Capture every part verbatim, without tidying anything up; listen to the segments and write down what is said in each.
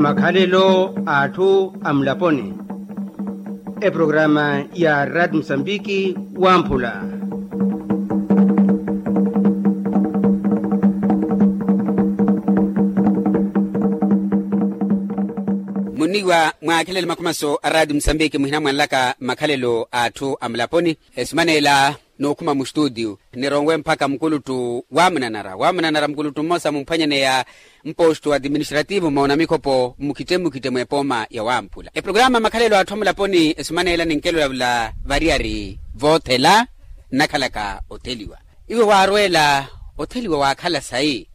Makhalelo a atthu a mulaponi. Eprograma ya rad musambiki wamphula. Muniwa mwaakhelele makhumaso a rad musambiki muhina mwanlaka makhalelo a atthu a mulaponi. Esimanela n'ukhuma mustutiyu nironwe mpakha mukuluttu wamunanara wamunanara mukuluttu mmosa mumphwanyaneya mpostu administrativu moona mikhopo mmukhitte mmukhitte mwepooma ya wamphula eprograma makhalelo atthu amulaponi esimaneela ninkelolavula variyari voothela nnakhalaka otheliwa. Iwe waarweela otheliwa waakhala sayi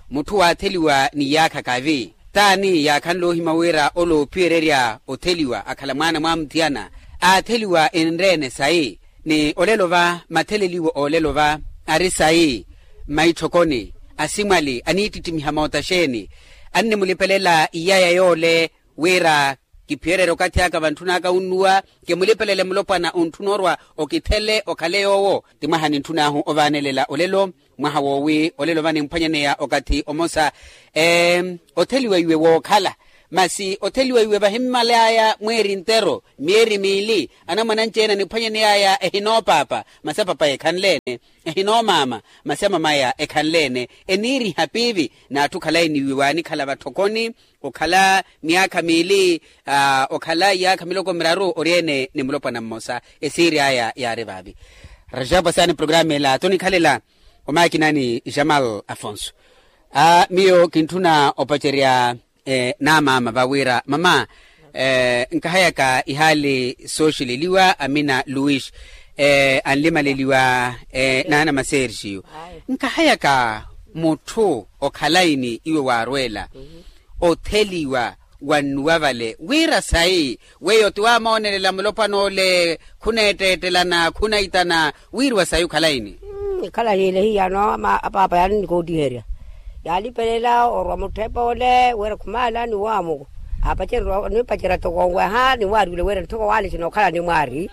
mutthu waatheliwa ni yaakha kavi t'ani yaakhanle ohimya wira ole oophiyererya otheliwa akhala mwaana mwamuthiyana aatheliwa enreene sayi ni olelo va matheleliwo olelo va ari sayi mmaitthokoni asimwali aniittittimiha moota xeeni annimulipelela iyaya yoole wira kiphiyererye okathi aka vantthun'aka unnuwa kimulipelele mulopwana ontthuna orwa okithele okhale yoowo ti mwaha nintthun'ahu ovaanelela olelo mwaha woowi olelo va nimphwanyaneya okathi omosa otheliwa iwe wookhala masi otheliwa iwe vahimmalaaya mweeri ntero myeeri miili anamwananci-ene aniphwanyaney'aya ehinoopaapa masi apapayi ekhanle-ene ehinoomaama masi amamaya ekhanle-ene eniiriha piivi n'atthu khalayi ni iwe waanikhala vatthokoni okhala myaakha miili okhala iyaakha miloko miraru ori-ene ni mulopwana mmosa esiiri aya yaari vaavi. Rajabu asaani programa ela tonikhalela omaakinani jamal afonso miyo kintthuna opacerya n'amaama vawira mama nkahayaka ihaali sooxileliwa amina luis anlimaleliwa n'anama sergio nkahayaka mutthu okhalayi ni iwe waarweela otheliwa wannuwa vale wira sayi weyo ti waamoonelela mulopwana ole khuneetteettelana khunaitana wiiriwa sayi okhalayi ni. Ekhala hiile hiyano apaapa yaani nikootiherya yaalipelela orwa mutthepe ole wira khumaala ni waamuku aapacererya onipacerya toko onweha ni waariwile wira nthoko waale sinookhala ni mwaari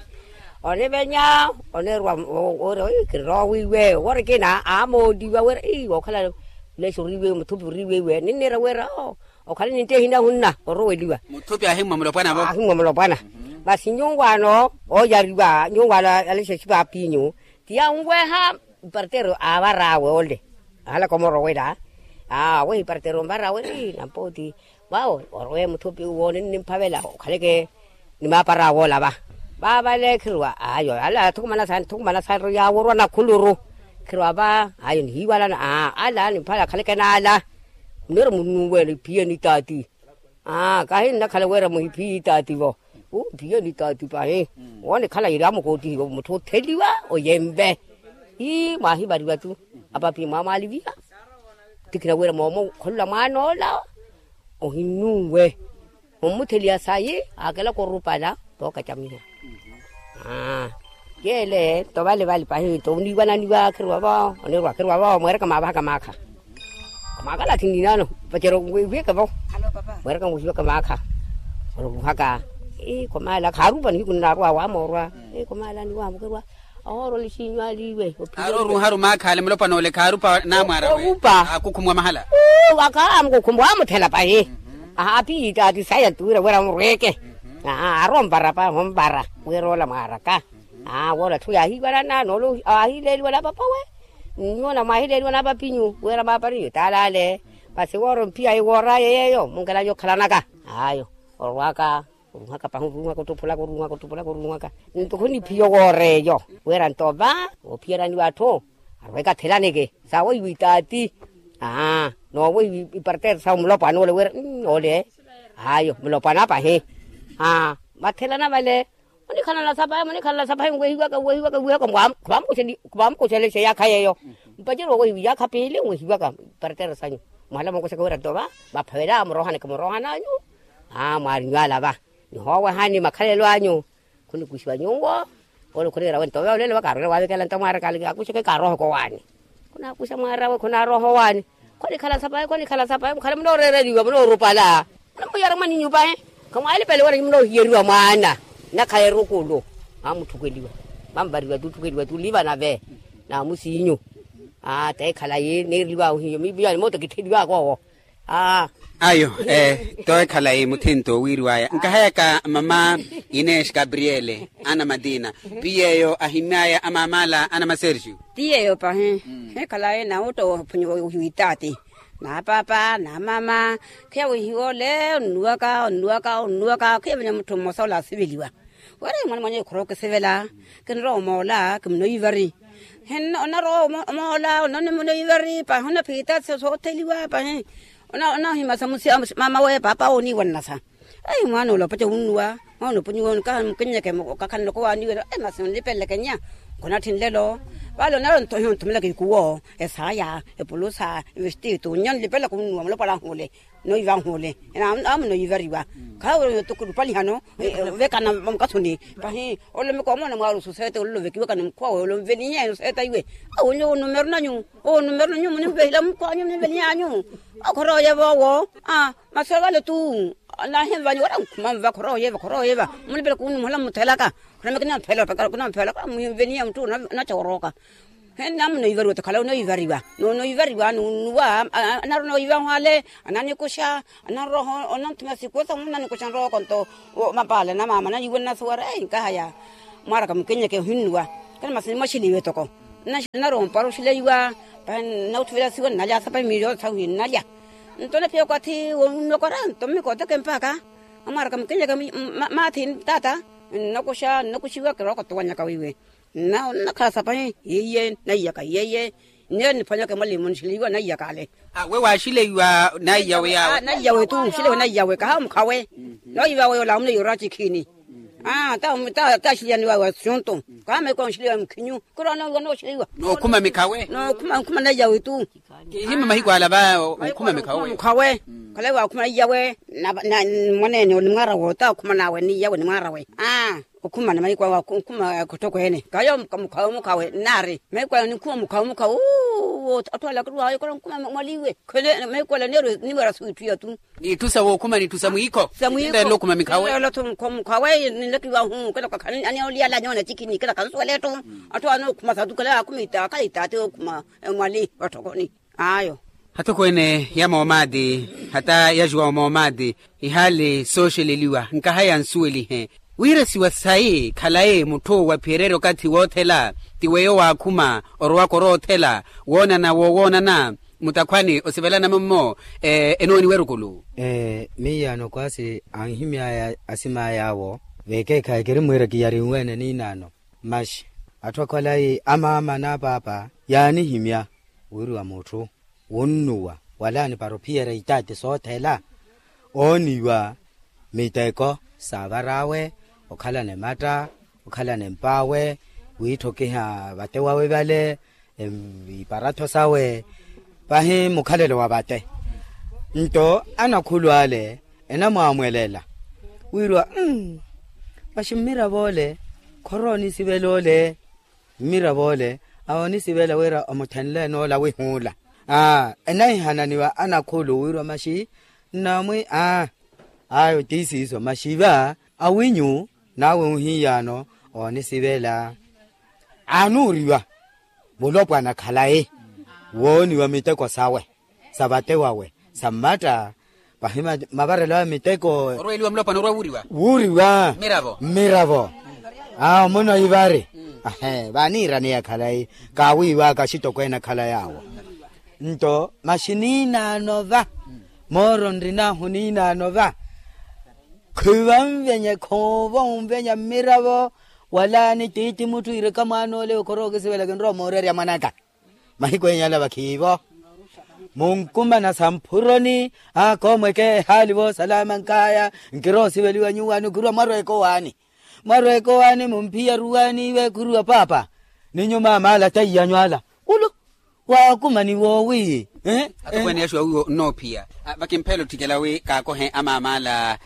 onivenya onirwa wira ii kiroowiwe wira kina aamooliwa wira ii wookhala leshi oriiwe muthupi oriiwe iwe ninniira wira oo okhala nintti ehina hunna oroweliwa. Muthupi ahimmwa mulopwana vo ahimmwa mulopwana masi nyuwaano ooyariwa nyuwaano alexa exipapinyu ti yaanweha ipartero aavar'awe ole ahalaka omorowela aaweha ipartero onvar'awe ii nampooti vawo orowe muthupi uwo ninnimphavela okhaleke ni maapar'awe ola va vavale khirwa ayo ala athukumana saani thukumana saani yaworwa nakhuluru khirwa va ayo nihiiwalana aa ala nimphavela akhaleke n'ala muniro munnuwela iphiyeni taati aa kahi nnakhala wira muhiphiyi taati vo uu mphiyeni taati pahi wonikhala yiri amukootihiwa mutthu otheliwa oyemve ii mwahivariwa tu apapi mwamwaliviha tikina wira moomo kholula mwaan'ola ohinnuwe ommutheliya sayi aakelaka orupala tookacamiha yeele nto vale vale pahi nto oniiwananiwa khirwa vo onirwa khirwa vo mweeraka maavahaka maakha mwaakala athinninano vacera wiviyeke vo mweeraka mwihiweke maakha oruhaka ii komaala khaarupa nihiku nnaarwa waamoorwa ii komaala niwaamukerwa ahoorwa lixinyu aliiwe aari oruharu maakha ale mulopwana ole khaarupa naamwaara orupa akukhumwa mahala uu akaamukukhumwa waamuthela pahi aapiyi taati saya tuwira wira murweke aaronvara pahi onvara wira ola mwaaraka aa woola atthu yaahiivalana noolo aahileeliwa na papawe nnyuwo namwaahileeliwa na papinyu wira maapariyo taala ale masi woora omphiyaayi woor'aya yeeyo munkelanya okhalanaka ayo orwaka oruhaka pahi oruhaka ottuphulaka oruhaka ottuphulaka oruhaka nto khuniphiya owoora eyo wira nto va oophiyeraniwa atthu arweke athelaneke sawohiwa itaati aa noowohiwa ipartero sawo mulopwana ole wira ole ayo mulopwana pahi aa mathelana vale munikhalana sapahi munikhalana sapahi nwehiwaka nwehiwaka nwehiwaka khuvaamukuxelexa iyaakha yeeyo mpaceri wawehiwa iyaakha piili nwehiwaka iparatera sanyu mwahala mookuxaka wira nto va vaphavela muroohaneke muroohananyu aa mwaarinyu ala va nihoowehani makhalelo anyu khunikuxiwa nyuwo ole khuniira we nto ve olelo va kaarwela waavikela nto mwaara kaali akuxeke kaaroheke owaani khunaakuxa mwaara we khunaaroha owaani khonikhala sapahi khonikhala sapahi mukhale munooreereliwa munoorupala munamuyara mwaninyu pahi khamwaalipele wira munoohiyeriwa mwaana nakhala erukulu maamutthukeliwa maamuvariwa tutthukheliwa tuliva nave naamusinyu aa teekhala yi niireliwa ohiyo miyo ni moota kittheliwaka owo Ayo. Towe khalayi muthinto wiiriwaya nkahayaka mama, inesh gabriele ana matina, piy'eyo ahimy'aya amaamala ana maserxio. Ti yeeyo pahi. Khikhala ena otta ohiwitaati, na paapa na mama, khiya wihiwa ole onnuwaka onnuwaka onnuwaka khiya vanya mutthu mmosa ole asiveliwa. Wira mwana mwanya ekhora okisivela, kinrowa omoola kimunoivari. Onnarowa omoola onnoivari pahi onnaphita sootheliwa pahi. Onnohimasa mamawe paapa oniiwa nnasa. Mwaana ole opaca wunnuwa, mwaana opunyiwa onkaha mukinnyeke okakhanloko waaniwela masi onlipeleleke nnya. Nkhonatthi nlelo. Vale onnarowa onthomelaka ikuwo, esaaya, epulusa, evestitu nnya onlipelelaka onnuwa mulopwana ahu ole. Noiva ahu ole. Amunoivariwa. Khawe otukulu opalihano. Ovekana vamukathuni. Pahi olomeka omoona mwaari osuseete ololovekiwaka ni mukhuwa ole onvelihe oseeta iwe. Awo nyo onumeru nanyu, onumeru nanyu munimvehila mukhuwa anyu munimvelihanyu. Okhorooyeva owo. Masi ovale tu. Nahimvanyu wira nkhuma nva khorooyeva khorooyeva. Munipelaka onumuhela mmuthelaka. Khonamekina mphela opekala khonamphela khona muhimveniha muttu. Onacha orooka. Hena munoivariwa otikhala onoivariwa. Nonoivariwa nunnuwa. Anarwa onoiva ahwale. Ananikuxa. Anarwa onanthumya sikuwo samu nanikuxa nrooko nto. Mapaale na mama nayiwe nnasuwara ei nkahaya. Mwaaraka mukinnyeke ohinnuwa. Kana masi nimwaxiliwe toko. Nnarowa ompara oxileiwa. Pahi nnautthuvelasiwa nnalya sapahi miiri yootha wihi nnalya. Nto onaphiya okathi wonnokwara nto mmikooteke mpakha. Amwaaraka mukinnyeke. Maathi taata. Nnakuxa nnakuxiwa kirooko towanyaka wiiwe. Nnakhala sapahi yiiye naiyaka yiiye. Nneyo niphwanyaka emwalimu nixiliwa naiyaka ale. We waaxileiwa naiyawe yawe naiyawe tu nxileiwa naiyawe kaha omukhawe. Noiva we ola amuleiwa oraci khini. Taxiliyaniwa wa xuntu. Kaha mahiku awe nxileiwa mukhinyu. Kirowa noiva nooxileiwa. Nookhuma mikhawe. Nookhuma nkhuma naiyawe tu. Kihima mahiku ala va. Onkhuma mikhawe. Mukhawe. Khalai waakhuma naiyawe. Mwaneene nimwaarawe ota okhuma nawe niyawe nimwaarawe. Okhumana mahiku awe okhuma khuttokhweene kayo mukhawe mukhawe nnaari. Mahiku ayo ninkhuma mukhawe mukhawe. Atthu ala akiruwaya okhala onkhuma mwaliwe. Mahiku ala neerwe niwera swiitthu iya tu. Niitthu sa wookhuma niitthu sa mwiikho. Sa mwiikho. Ndeela okhuma mikhawe. Mukhawe ninlekiwa hu kela kakha aniyoliyala anyoona cikhini kela kansuwela ettu. Atthu ala nookhuma sa tu kela yaakhuma itaati okhuma. Emwali watthokoni. Ayo. Atthokweene ya moomaati hata ya juwawu moomaati. Ihaali sooxeleliwa nkaha yansuwelihe. Wiirasiwa sayi khalayi mutthu waphiyererya okathi woothela ti weyo waakhuma orowaka oroothela woonana wowoonana. Mutakhwani osivelana mummo enooniwa erukulu. Miyaano kwaasi anhimy'aya asim'ay'awo vekeekhayi kirimwiira kiyarinweene niinaano. Masi atthu akhwalayi amaama n'apaapa yaanihimya wiriwa mutthu wunnuwa wala anipara ophiyerya itaati soothela ooniwa miteko saavar'awe okhalana ematta okhalana emp'awe wiitthokiha vate wawe vale. Iparattho sawe pahi mukhalelo wa vate. Nto anakhulu ale enamwaamwelela wiriwa masi mmiravo ole khorowa onisivela ole. Mmiravo ole awo onisivela wira omuthenle enoola wihuula. Enahihananiwa anakhulu wiriwa masi nnamwi aa ayo ti siiso masi va awinyu nawe ohiyaano oonisivela. Anuuriwa mulopwana khalayi wooniwa miteko sawe sa vate wawe sa mmatta. Pahi mavarelo awe miteko orweliwa mulopwana orwa wuuriwa wuuriwa mmiravo. Awo muno ivari vaaniiraneya khalayi kaawiiwaka axitokweene akhala yaawo. Nto masi niinaano va mooro nrin'ahu niinaano va. Khivanvenye khoova onvenya mmiravo wala ni tiiti mutthu iireka mwaana ole okhora okisivela kinrowa omoorerya mwanaka. Mahiku enya ala vakhiivo munkumana samphuroni. Akoomweke ehaali voosalaama nkaya nkirowa osiveliwa nyuwaani okhiruwa mwarweeka owaani. Mwarweeka owaani mumphiya ruwaani iwe khuruwa paapa ni nyumaama ala taiyanyu ala ulu. Waakumaniwa owi atokweene yaxuwa wiwo nnoophiya. Vakimphela otthikela wi kaakohe amaama ala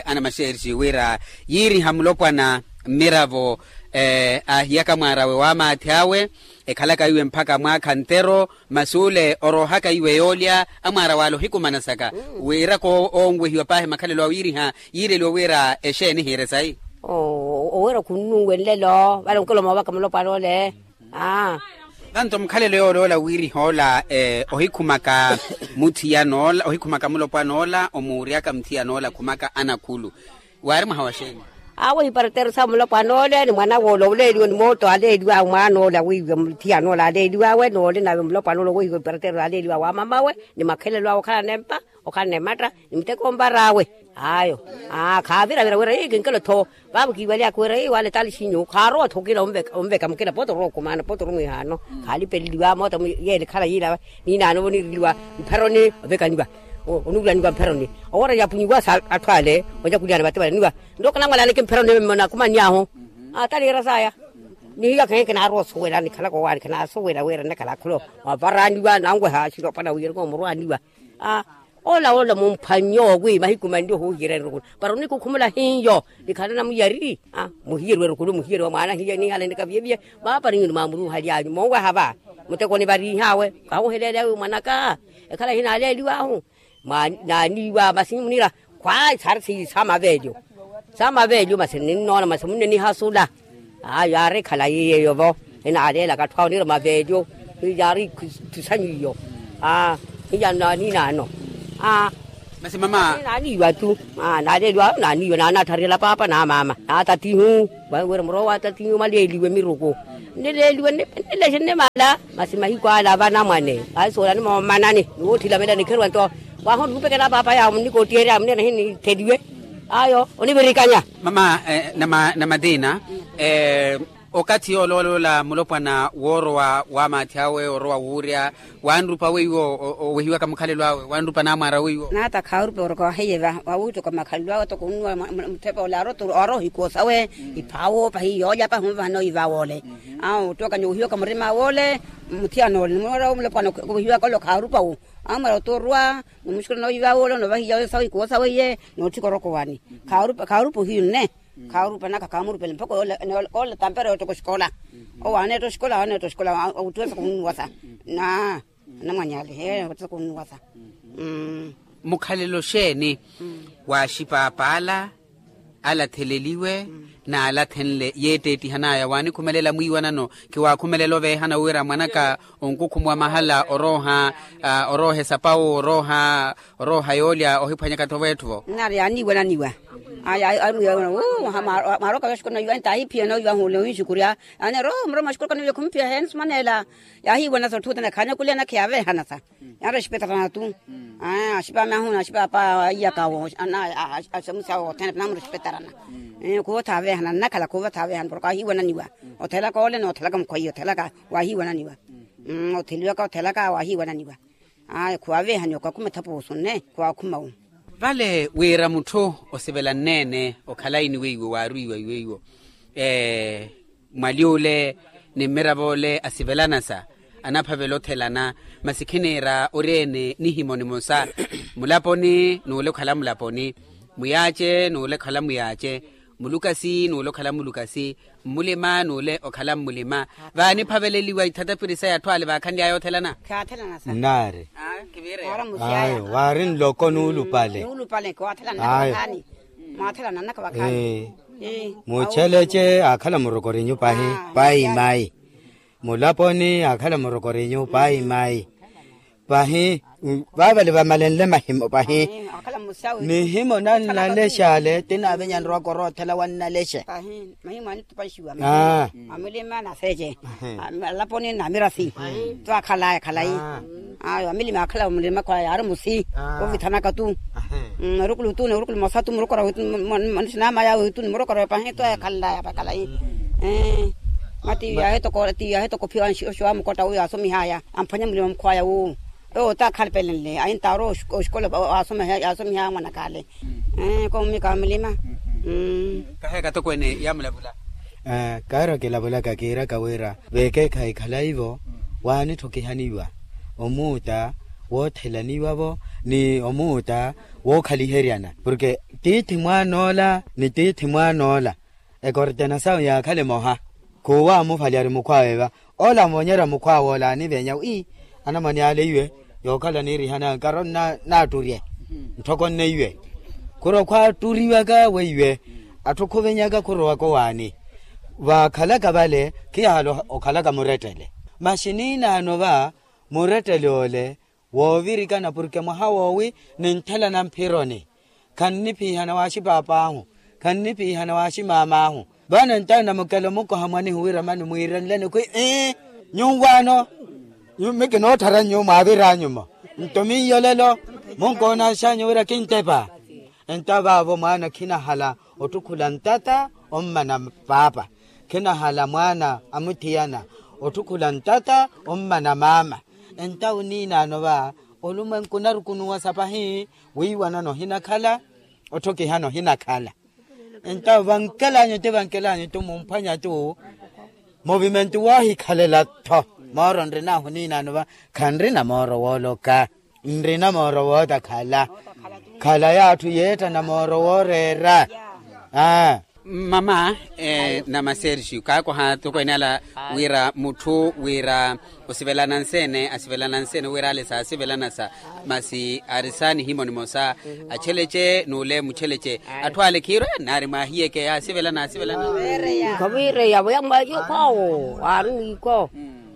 anamaxerixi wira yiiriha mulopwana mmiravo aahiyaka mwaarawe waamaathi awe ekhalaka iwe mpakha mwaakha ntero masi ole oroohaka iwe yoolya amwaarawe ale ohikumanasaka. Wiraka oonwehiwa paahi makhalelo awe yiiriha yiireliwa wira exeeni hiire sayi. Owira khunnuwe nlelo vale onkelo moovaka mulopwana ole. Aa Tanto mukhalelo yooloola wiirihoola ohikhumaka muthiyanoola ohikhumaka mulopwanoola omuuryaka muthiyanoola khumaka anakhulu. Waari mwaha wa xeeni? Awo iparatero sa mulopwanoola ni mwana woole oleeliwe ni mooto aleeliwa mwaanoola wiiwe muthiyanoola aleeliwawe noole nawe mulopwanoola owehiwe iparatero aleeliwa wa mamawe ni makhelelo awe okhala nempa okhala nematta ni muteko ompar'awe. Ayo. Khaaviravira wira ii kinkelo-tho vaavu kiivalyaka wira ii wale tali xinyu khaarowa-tho okila onveka mukila pooti orowa okumaana pooti orumwihaano. Khaalipeleliwa moota yeele khala yiila. Niinaano oniireliwa mpheroni ovekaniwa onuulaniwa mpheroni. Owoora yapunyiwa sa atthu ale onyakulyana vatevalaniwa. Nto kanamwalani kimphera onimona akumani ahu. Ataliira saya. Nihiyo akhehe kinaarowa osuwela nikhalaka owaani kinaasuwela wira nnakhala akholo. Wavaraniwa nanweha xilopana wira komurwaniwa. Ola ola mumphwanyo wi mahiku manli ohuhiyerya erukulu para onikukhumula hiyo. Nikhala namuyari muhiyeri werukulu muhiyeri wa mwaana hiyo nihala nikaviyeviye. Vaaparinyu ni mwamuruuhalyanyu monweha va. Mutekoni varihaawe kahuheleelya wi mwanaka. Ekhala hinaaleeliwahu. Naaniiwa masi munira khwaayi saari sa maveelyo. Sa maveelyo masi ninnoona masi munnenihasula. Aa yaari ekhalayi yeeyo-vo. Enaaleelaka atthu awo nira maveelyo. Yaari ithusanyu iyo. Aa hiya naaniinaano. Aa masi mama naaniiwa-tu. Aa naaleeliwa naaniiwa naanaathariyela paapa na maama naatatihu. Wira murowa waatatihu mwaleeliwe miruku. Nnileeliwe nnilexe nnimala. Masi mahiku ala vanamwane vahisoolani moomanani ni woothilamela nikheruwa nto. Waho nihupekela paapa yaawo munnikoottiherya munira nahinitheliwe. Ayo onivirikanya. Mama namatiina. Okathi yooloolola mulopwana woorowa wamaathi awe orowa wuurya. Wanrupa weiwo owehiwaka mukhalelo awe wanrupa namwaara weiwo. Naata khaarupa oroka wahiye va wawittoka makhalelo awe toko onnuwa muthepa ole aroto aroha ikuwo sawe. Iphaawo pahi yoolya pahi onvahana oyiva woole. Awo ottooka nyowihiwaka murima woole. Muthiyanole nimwira omulopwana owehiwaka ole okhaarupa wo. Amwira otoorwa nomuxukhula nooyiva woole novahiya oyo sawe ikuwo sawe iye nootthika oroka owaani. Khaarupa ohiyu nne. Khaarupa naka khaamurupela mpakha koola tampera yoottaka oxikola. Owo aaneetta oxikola aaneetta oxikola awuttuwesa khunnuwasa. Na anamwany'ale he awuttuwesa khunnuwasa. Mukhalelo xeeni waaxipaapa ala alatheleliwe n'alathenle yeetteettihan'aya waanikhumelela mwiiwanano? Khiwaakhumelela oveehana wira mwanaka onkukhumuwa mahala orooha orooha esapawu orooha orooha yoolya ohiphwanyaka-tho veetthu-vo. Nnaari yaaniiwananiwa. Mwaarokaka oxikola noiwa entaahiphiya noiwa hunle ohinxukurya. Yaani ero muroma oxikola kaniwile khumuphiya heeni sumaneela. Yaahiiwanasa otthu othene khaanyakulyana khiyaveehanasa. Yaari oxipetarana-tu. Axipaame ahuna axipaapa aiyaka awo axemusi awo othene naamura oxipetarana. Khuva othaaveehana nnakhala khuva othaaveehana porke ahiiwananiwa. Othelaka ole noothelaka mukhwaiye othelaka waahiiwananiwa. Otheliwaka othelaka waahiiwananiwa. Ayo khuwaveehani okwakhuma ethapuusu nne khwaakhuma-wo. Vale wira mutthu osivela nneene okhalayi ni weiwo waarwiiwa iweiwo. Mwaly'ule ni mmiravo ole asivelanasa anaphavela othelana. Masi khiniira ori-ene nihimo nimosa. Mulaponi n'ule okhala mulaponi. Muyaace n'ule okhala muyaace. Mulukasi n'ule okhala mulukasi. Mmulima n'ule okhala mmulima. Vaaniphaveleliwa ithatapiri saya atthu ale vaakhanly'aya othelana. Nnaari. Ayo waari nloko nuulupale. Ayo. Muchelece aakhala murokorinyu pahi. Pahi mayi. Mulaponi aakhala murokorinyu pahi mayi. Pahi. Vaavale vamalenle mahimo pahi. Mihimo nannalexale tinaavenyani rwaka oroothela wannalexe. Mahimo anittupanxiwa. Amulima na seece. Alaponi na mirasi. Twaakhalaya khalayi. Ayo amilima akhala mulima khwaya yaari musi. Ovithanaka-tu. Orukulu-tu ni orukulu mosa-tu murokora. Manixinama yawe-tu ni murokora pahi twaakhalaya pakhalayi. Mati yaahitoko phiwa oxiwa mukotta uyo aasomihaya amphwanya mulima mukhwaya wu. Ewo taakhalpelenle aintaaro oxikola. Yaasomiha mwanakaale. Koomumika wa mulima. Kaheeka tokweene yaamulavula. Kaari okilavulaka kiiraka wira veekeekhayi khalayi-vo waanitthokihaniwa omuuta woothelaniwa-vo ni omuuta wookhaliheryana porke tiithi mwaan'ola ni tiithi mwaan'ola ekortena sawe yaakhale emoha. Khuuwa amufali ari mukhw'awe va ola amoonyerya mukhw'awe ola anivenya wi anamwane ale iwe yookhala niirihana nkaro nnaatturye. Ntthokonne iwe khuro khwaatturiwaka weiwe atthu khuvenyaka khurowaka owaani. Vaakhalaka vale khiyahala okhalaka murettele. Masi niinaano va murettele ole woovirikana porke mwaha woowi ninthelana mphironi. Khanniphiihana waaxi paap'ahu, khanniphiihana waaxi maam'ahu. Vano ntawe namukela omukoha mwanihu wira mani mwiirenleni khwi ii, nyuwaano mi kinoottharanyu mwaaviranyumo. Nto miyo lelo munkoonanxanyu wira kintepa. Nto vaavo mwaana khinahala ottukhula ntata ommana paapa, khinahala mwaana a muthiyana ottukhula ntata ommana maama. Nto awo niinaano va olumwenku onarukunuwasa pahi, wiiwanano ohinakhala otthokihano ohinakhala. Nto vankelanyu ti vankelanyu ti mumphwanya tu muvimentu woohikhalela-tho. Mooro nrinahu niinaano va khanrina mooro wooloka, nrina mooro wootakhala. Khala y'atthu yeettana mooro wooreera. Aa. Mama, namasergio kaakoha tokweene ala wira mutthu wira osivelana nseene asivelana nseene wira ale saasivelana sa masi ari saanihimo nimosa. Achelece n'ule muchelece atthu ale khiirwe nari mwahiyeke yaasivelana asivelana. Khaviireya voya mwayo khwawo aari mwiiko.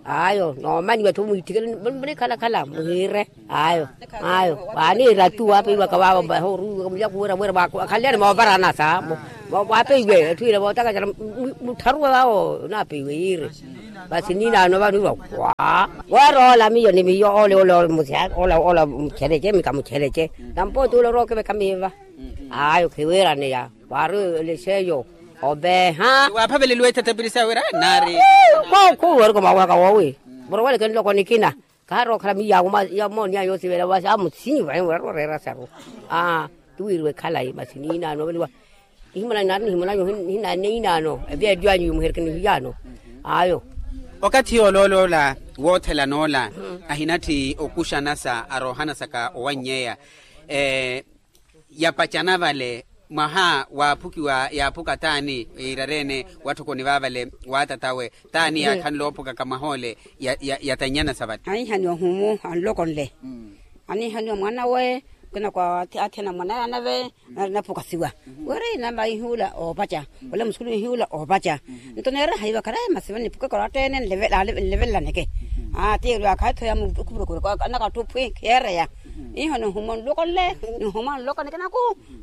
Ayo noomaniwa tho mwiitthikele munikhalakhala muhiire. Ayo ayo waaniira tu waapeiwaka vavo mbahe oruwiwaka mulyaku wira wira wakhaliyani moovarana sa waapeiwe etthu ila vootakacara muttharuwe vavo onaapeiwe yiire. Masi niinaano vaniwa wa weeroola miyo ni miyo ole ole ole muchelece mika muchelece. Nampooti ole orookiveka miiva. Ayo khiwiiraneya waari elexeyo oveeha. Waaphaveleliwa ithetepiri sa wira nari khuwerika omawaka woowi muroweleke nloko nikina. Khaari okhala miyawo ya mooniya yoosivela wasi amusinyi vahi wira oreera saru. Aa tiwiiriwe khalayi masi niinaano oveliwa nihimona nari nihimonanyu hinaneinaano evyeedyo anyu yimuhereke nihiyaano. Ayo okathi yoolooloola woothelana ola ahinatthi okuxanasa aroohanasaka owannyeya. Yapacana vale mwaha waaphukiwa yaaphuka t'ani? Iirarene watthokoni vaavale waatatawe t'ani yaakhanle oophukaka mwaha ole? Yatannyana sa vale anihaniwa ohumu anlokonle anihaniwa mwanawe. Kinakwa athiyana mwanaya nave nari naphukasiwa wira inamaihuula oopaca wala musukulu ihuula oopaca. Nto neera haiva kharayi masi vaniphukaka oratta ene nlevelaneke. Aa tiirwaka etthu ya mukhupurukuru anakatthu phwi khiyeereya. Iho nihuma nloko nle nihuma nloko nike naku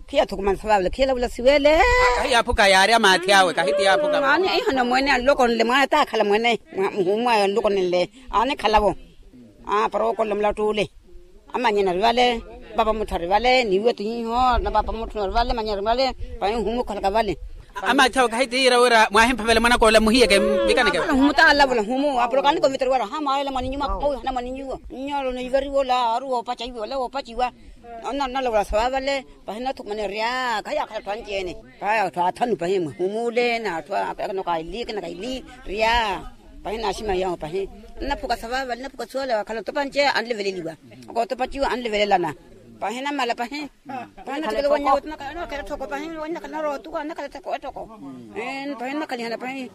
khiyathukumana sa vaavale khiyalavula siwele. Kahi yaaphuka yaari amaathi awe kahi ti yaaphuka. Aani iho namwene anloko nle mwaana taakhala mwene muhumu ayo anloko nle. Aani khalavo para wookolela mulattuule. Amanyana ari vale paapa mutthu ari vale niiwe ti hiho na paapa mutthu ari vale manyana ari vale. Pahi nhumu okhalaka vale. Amaathi awe kahi ti yiira wira mwaahimphavela mwanakoola muhiyeke mvikaneke. Nhumu taalavula nhumu apulokaniko vitari wira ha mwaayela mwaninyuwa owi hana mwaninyuwa nnyolo niivariwa ola aari woopaca iwe ola woopaciwa. Onnalavula sa vaavale pahi nathukumanerya khayaakhala atthu anci-ene. Pahi atthu athanu pahi mwihumu ole na atthu akina kaili akina kaili rya. Pahi naaximahiyahu pahi nnaphuka sa vaavale nnaphuka suwale wakhala otopa nce anleveleliwa. Okootopa ciwo anlevelelana pahi namala pahi. Pahi nathikele wanyawe ti nakhala thoko pahi wanyakhala narootuka nakhala thoko ettoko. Pahi nnakhalihana pahi.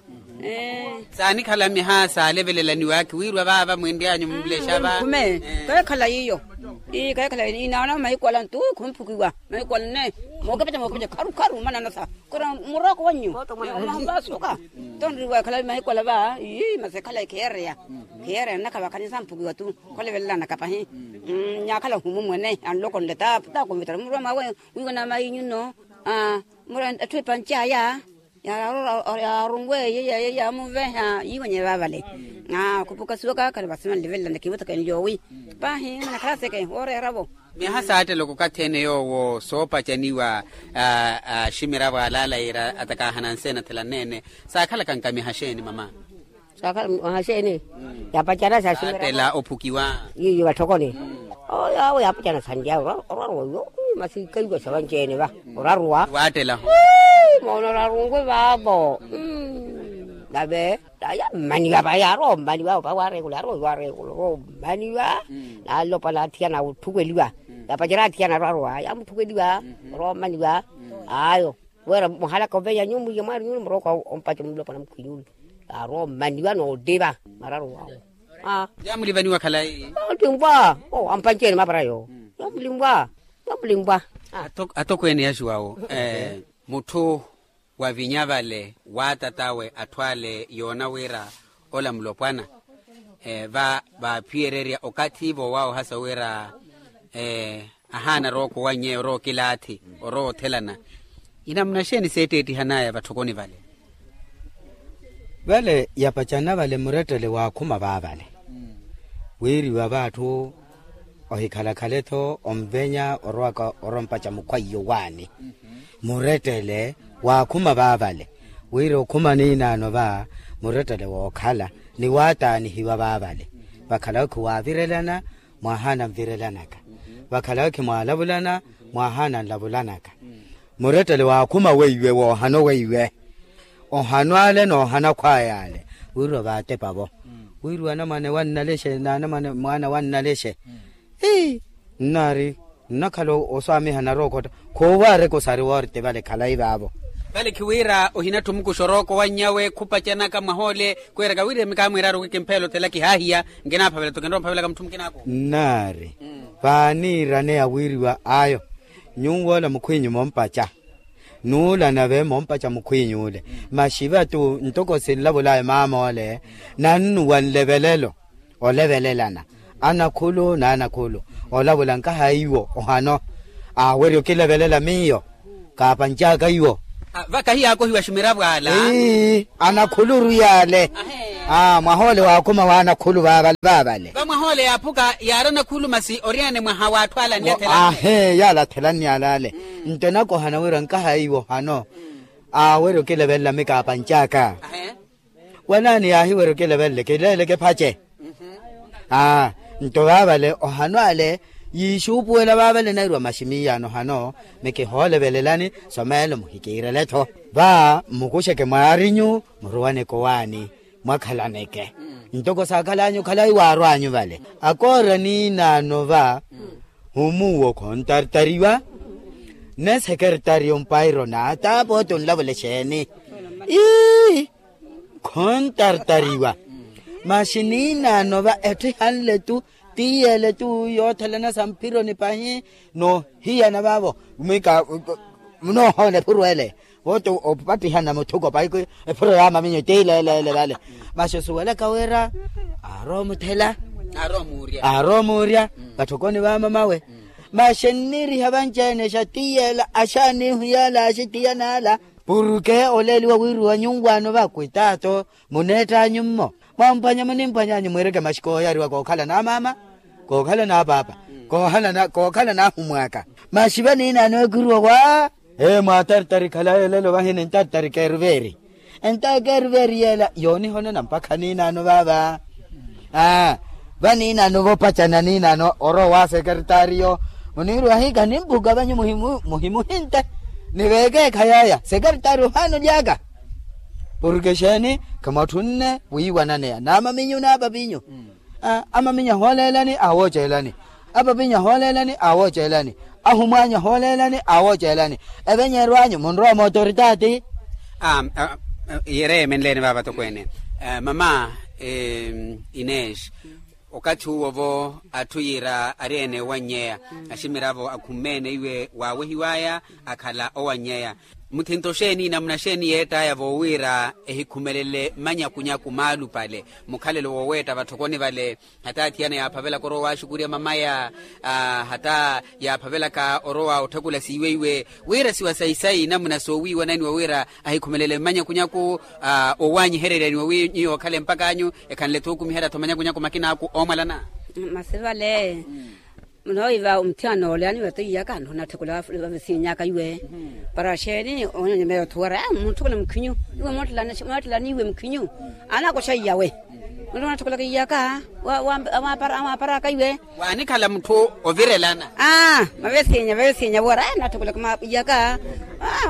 Saanikhala miha saalevelelaniwakhi wiirwa vaava mwinry'anyu mmulexa va. Khume keekhala yiyo. Ii keekhala yiyo inaana mahiku ala ntu khumphukiwa mahiku ala nne. Mookepeca mookepeca kharu kharu mananasa kora murooko wannyu. Omahumpasuka tonriwa ekhala mahiku ala va ii masi ekhalayi khiyeereya. Khiyeereya nnakhavakhanyi samphukiwa tu kholevelelana kapahi. Nyaakhala ohumu mwene anlokonle ta ta konvitara murwa mwawe. Wiiwa naama inyu nno. Mura etthu epanci aya yaarunwe yeeya yeeya amuveha yiiwenye vaavale. Khupukasiwaka khani vasi vanlivelelana khivothaka enlyowi. Paahi mwanakhala seke wooreera-vo. Miyaha saattela okathi ene yoowo soopacaniwa aximiravo alaala yiira atakaahana nseena thela nneene. Saakhalaka nkamiha xeeni mama? Saakhala mwaha xeeni? Yaapacana saaximira saattela ophukiwa. Yiiyo vatthokoni. Oyo awo yaapacana sanlyawe oraruwa oyo. Masi kaiwasa vanci-ene va oraruwa waattela. Moona orarungwe vaavo. Nave yammaniwa va yaarowa ommaniwa va waareekula yaarowa oyo waareekula orowa ommaniwa. Naalopa naathiyana otthukweliwa. Yaapacana athiyana oraruwa yaamuthukweliwa orowa ommaniwa. Ayo wira muhalaka oveya nyuwo mwiya mwaari nyuwo murooko ompaca mulopana mukhwinyuwo. Yaarowa ommaniwa noottipa mararu wawo. Yamulivaniwa khalayi. Otimpwa. Ampanci-ene mapara yo. Yamulimpwa. Yamulimpwa. Atokweene yaxuwawo mutthu wavinya vale waatatawe atthu ale yoona wira ola mulopwana. va vaaphiyererya okathi voowaawohasa wira ahaana rooko owannyeya orowa okilaathi orowa othelana. Inamuna xeeni seetteettihanaya vatthokoni vale? Vale yapacana vale murettele waakhuma vaavale wiiriwa vaatthu ohikhalakhala-tho onvenya orowaka orompaca mukhwaiyo waani. Murettele waakhuma vaavale wira okhuma niinaano va murettele wookhala ni waataanihiwa vaavale. Vakhala okhi waavirelana mwahaana nvirelanaka. Vakhala okhi mwaalavulana mwahaana nlavulanaka. Murettele waakhuma weiwe woohano weiwe ohano ale n'ohana khwaya ale. Wiiriwa vaatepa vo wiiriwa anamwane wannalexe n'anamwane mwaana wannalexe. Ii nnaari nnakhala oswaamiha narookotta. Khuuvaareke osari woorte vale khalayi vaavo. Vale khiwiira ohinattha omukuxa orooko wannyawe khupacanaka mwahoole kwiiraka wiiremi kaamwiiraari okikimphela othela kihaahiya. Nkinaaphavela-tho kinrowa mphavelaka mutthu mukinaaku. Nnaari vaaniiraneya wiiriwa ayo nyuw'ola mukhwinyu moompaca n'ula nave moompaca mukhwinyu ole. Maxivatu ntoko sinlavulaya maam'ole nannuwa nlevelelo olevelelana anakhulu n'anakhulu. Olavula nkaha iwo ohano awerya okilevelela miyo kaapanc'aka iwo. Vaka hiyaakohiwa ximiravo ala. Anakhuluru yaale. Mwahoole waakhuma w'anakhulu vaavale vaavale. Vamwahoole yaaphuka yaari anakhulu masi oriyane mwaha w'atthu ala anlathela. Ahe yaala athelani yaale ale. Nto enakohana wira nkaha iwo hano aawerya okilevelela mikaapanc'aka. Wanaani yaahiwerya okilevelele kileeleke phace. Aa nto vaavale ohano ale yiixuupuwela vaavale nairiwa maximiiyano hano mikihoolevelelani someelo muhikiirele-tho. Va mmukuxeke mwaarinyu muruwaneke owaani mwakhalaneke ntoko saakhal'anyu khalayi waarw'anyu vale. Akoora niinaano va humuuwo khontartariwa ne sekertariyo mpairo naata poote onlavula exeeni. Ii khontartariwa masi niinaano va etthu ihanle-tu tiiyele-tu yoothelana samphironi pahi noohiyana vaavo. Munoohoona ephuru ele vooti opattihana muthuko pahi ephuru yaamaminyo tiileeleele vale. Masi osuwelaka wira aarowa omuthela aarowa omuurya vatthokoni vaamamawe. Masi enniiriha vanci-ene exa tiiyela axaanihu yaala axitiyana ala purke oleeliwa wiiriwa nyuwaano vakwitaato muneett'anyu mmo mwamphwanya munimphwany'anyu mwiireke maxi kooyariwa kookhala n'amaama kookhala n'apaapa kookhala n'ahumw'aka. Maxi vaniinaano ekhuruwa wa ee mwaatartari khalayi elelo vahi nintartari keeruveeri. Entakeeruveeri yeela yoonihonona mpakha niinaano vaava. Aa vaniinaano voopacana niinaano orowa wa sekertariyo muniiriwa hiikha nimphuka vanyu muhimuhinte niveekeekha yaaya sekertariyo ohaana oly'aka. Purke exeeni khimwatthunne wiiwananeya n'amaminyu n'apapinyu. Amaminya hooleelani aawooceelani apapinyu ahooleelani aawooceelani ahumwaanyu ahooleelani aawooceelani. Evenyeerw'anyu munrowa mootoritati. Yereemenleeni vaava tokweene mama inesh okathi uwo vo atthu yiira ari ene owannyeya aximiravo akhumeene iwe waawehiw'aya akhala owannyeya. Muthinto xeeni namuna xeeni yeett'aya voowiira ehikhumelele manyakunyaku maalupale mukhalelo wooweetta vatthokoni vale hata athiyana yaaphavelaka orowa waaxukurya mamaya hata yaaphavelaka orowa otthakula siiweiwe wira siwa sayi-sayi namuna soowiiwananiwa wira ahikhumelele mmanyakunyaku owaanyihereryaniwa wi nyuwo okhale mpak'anyu ekhanle-tho okumiherya-tho manyakunyaku makinaaku oomwalana. Masi vale munoowiva omuthiyana ole aniweta iyaka nto onatthekula vavisinyaka iwe para xeeni onyonyomela otthu wara mutthukulani mukhinyu iwe moottelani iwe mukhinyu anakoxa iyawe. Nto onatthekulaka iyaka wamwaparaka iwe. Waanikhala mutthu ovirelana aa mavesinya vavesinya wara natthekulaka iyaka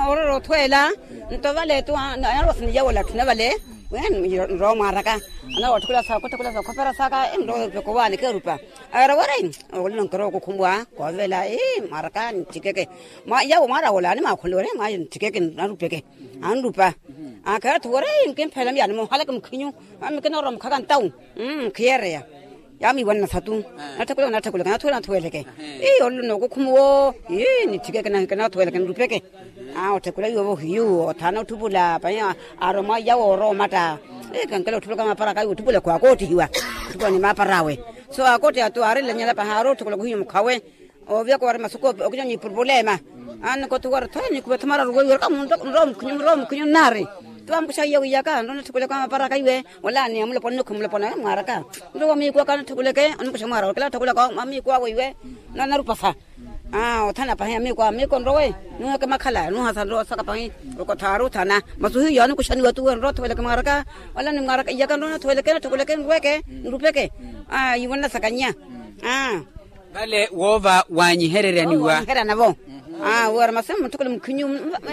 orora othweela. Nto vale tu anarowasana iyawe olatthuna vale nrowa mwaaraka anarowatthukula saakotthukula saakhopera saaka nrowa opeka owaani keerupa. Awerewere olino nkirowa okukhumwa koovela ii mwaraka ntthikeke. Yawo mwarawola animaakhulewere mwaye ntthikeke narupeke anrupa. Akheera thuwere ii nkimpheela miyani muhaleke mukhinyu. Mikinorowa mukhaka ntawu nkhiyereya. Yamiiwanana satu natthekule natthekule kanathuwele nathuweleke. Ii olino nokukhumuwo ii nitthikeke nahikanathuweleke nrupeke. Otthekula iwovo hiyu othaana otthupula pahi aaromwa yawo orowa omatta. Kankela otthupulaka maapara kawe otthupuleku akoottihiwa. Otthupuleku ni maapara awe. So akoottiha tu aarilanyela pahaari otthukuleku hiyo mukhawe. Ooviyaka wari masuku okinyanya ipurupulema. Annika otthuwara tho nikuva tho mararu weiweraka munrowa mukhinyu munrowa mukhinyu nnaari. Tuwa mukuxa iya wiyaka nrowa natthukuleke maapara kaiwe. Wala ni amulopona nikhu mulopona mwaraka. Nrowa miikuwaka natthukuleke onimukuxa mwaraka kila atthukuleka amiikuwa weiwe. Nanarupasa. Aa othana pahi amiiko amiiko nrowe. Nuweke makhala nuhasa nrowe saka pahi. Okothaari othana. Masuhiyo anikuxaniwa tuwe nrowe othoveleke mwaraka. Wala ni mwaraka iyaka nrowe nathoveleke nathoveleke nrweke nrupeke. Aa yiwo nnasakannya. Aa. Vale woova wanyihereryaniwa wanyiheryana vo. Aa wira masi munthukule mukhinyu.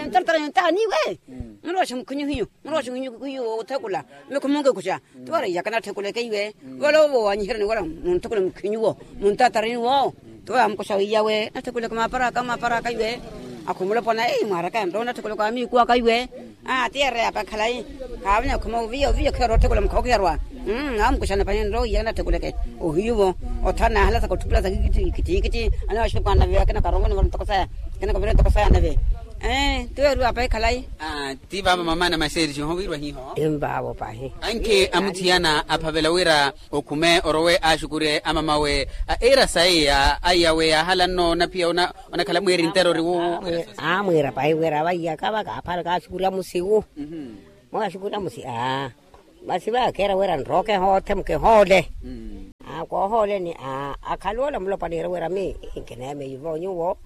Ntaratara yontaniwe. Murooxe mukhinyu hiyo. Murooxe mukhinyu hiyo othekula. Mikhumunke kuxa. Tiwara iyaka natthekuleke iwe. Vale owo wanyiherani wira munthukule mukhinyu-wo. Muntatareni-wo. Tiwara mukuxa wiyawe natthekuleke maaparaka maaparaka iwe. Akhumulopona ei mwaraka nto natthekuleke amiikuwaka iwe. Aa tiyereya apa khalayi. Khaavanya khuma oviya oviya okhiherwa otthekula mukha okhiherwa. Awo mukuxana pahi nto iyaka natthekuleke. Ohiyu-vo. Othana ahalasaka otthupulasa kikittikittikiti. Anawaxukanave akina karongoni vano ntoko saya. Akina kavira ntoko saya nave. Ee tiweeriwa apa ekhalayi. Ti vaavo mamaana maxeerixi ohowiirwa hiho. Envaavo pahi. Anke amuthiyana aphavela wira okhume orowe axukure amamawe. Iira sayi aiyawe yaahala nno onaphiya onakhala mweeri ntero ori wuwo. Amwiira pahi wira vaiyaka vakaaphala kaaxukurya musiwu. Mwaxukurya musi aa. Masi vakeera wira nrooke hoothe mukihoole. Aa koohooleni aa akhaluwola mulopaniire wira mi nkineemeivo nyuwo.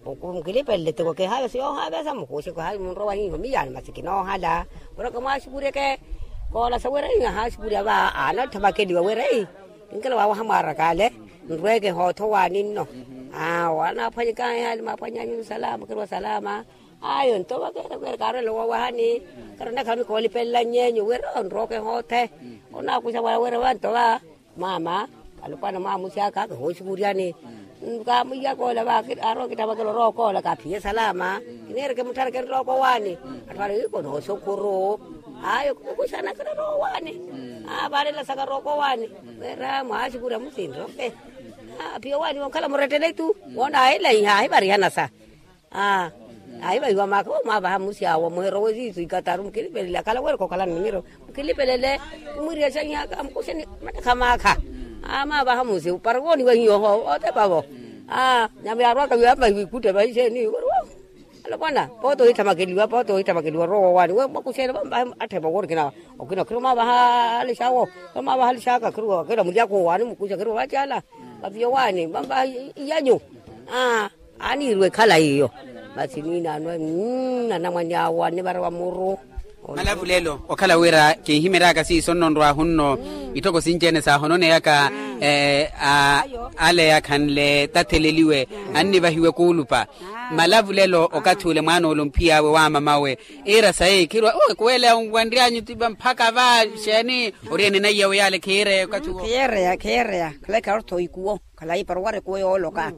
Mukilipelele tiko kihaaveso yoohaavesa mukuuxe kihaavi munrowa hiiho miyaani masi kinoohala. Wira kamwaaxukuryeke koolasa wira ihaxukurya va aana otthamakeliwa wira ei. Kinkela waawaha mwaaraka ale nrweeke hootho waani nno. Aa waanaaphwanyeka ehaali maaphwanyanyu salama kiriwa salama. Ayo nto vakeera kaarolela woowahani. Karonakhala mikoolipelela nyeenyu wira onrooke hoothe. Onaakuxa wala wira vanto va maama alupwana mwaamusi aka kahooxukuryani. Kaamwiya koola va aarowa kittavakela orowa okoola kaaphiye salama. Kineereke mutthareke nrowa kowaani. Atthu ale iko nooxukuru. Ayo kukuxanakela orowa owaani. Aavaarela saka orowa kowaani. Wira mwaaxukurya musinroke. Aphiye owaani wonkhala murettele tu woona ahilahiha ahivarihana sa. Aa ahivahiwa maaka omwaavaha mmusi awo muherowe siisu ikataru mukilipelele akhala weereke okhala nimiro. Mukilipelele. Mwiiriya xanyaka mukuxeni mattakha maakha. Aa mwaavaha mmusi para wooniwa hiyo oho otepa vo. Aa nyama yaarwaka wiya amvahiwa ikutte vaixeeni weriwo. Alopwana pooti ohithamakeliwa pooti ohithamakeliwa orowa owaani we mwakuxeeni vamvahe atthepa woorikina. Okina khiro mwaavaha alixawo. Mwaavaha alixaka khiro akela mulyaka owaani mukuxa khiro vacaala. Vaviya owaani vamvaha iyanyu. Aa aaniiriwa ekhalayi iyo. Masi niinaano anamwane awo anivarewa muru. Malavu lelo okhala wira kinhimeryaka siiso nno nrwahu nno. Itthoko sinci-ene saahononeyaka ale akhanle tatheleliwe annivahiwe kuulupa. Malavu lelo okathi ule mwaana ole omphiy'awe wa mamawe iira sayi khirwa ekuweleya onwanry'anyu tipa mphaka va xeeni? Ori ene naiyawe yaale khiireya okathi uwo. Khiyeereya khiyeereya khalayi kharottho ikuwo. Khalayi para owara ekuwo yooloka.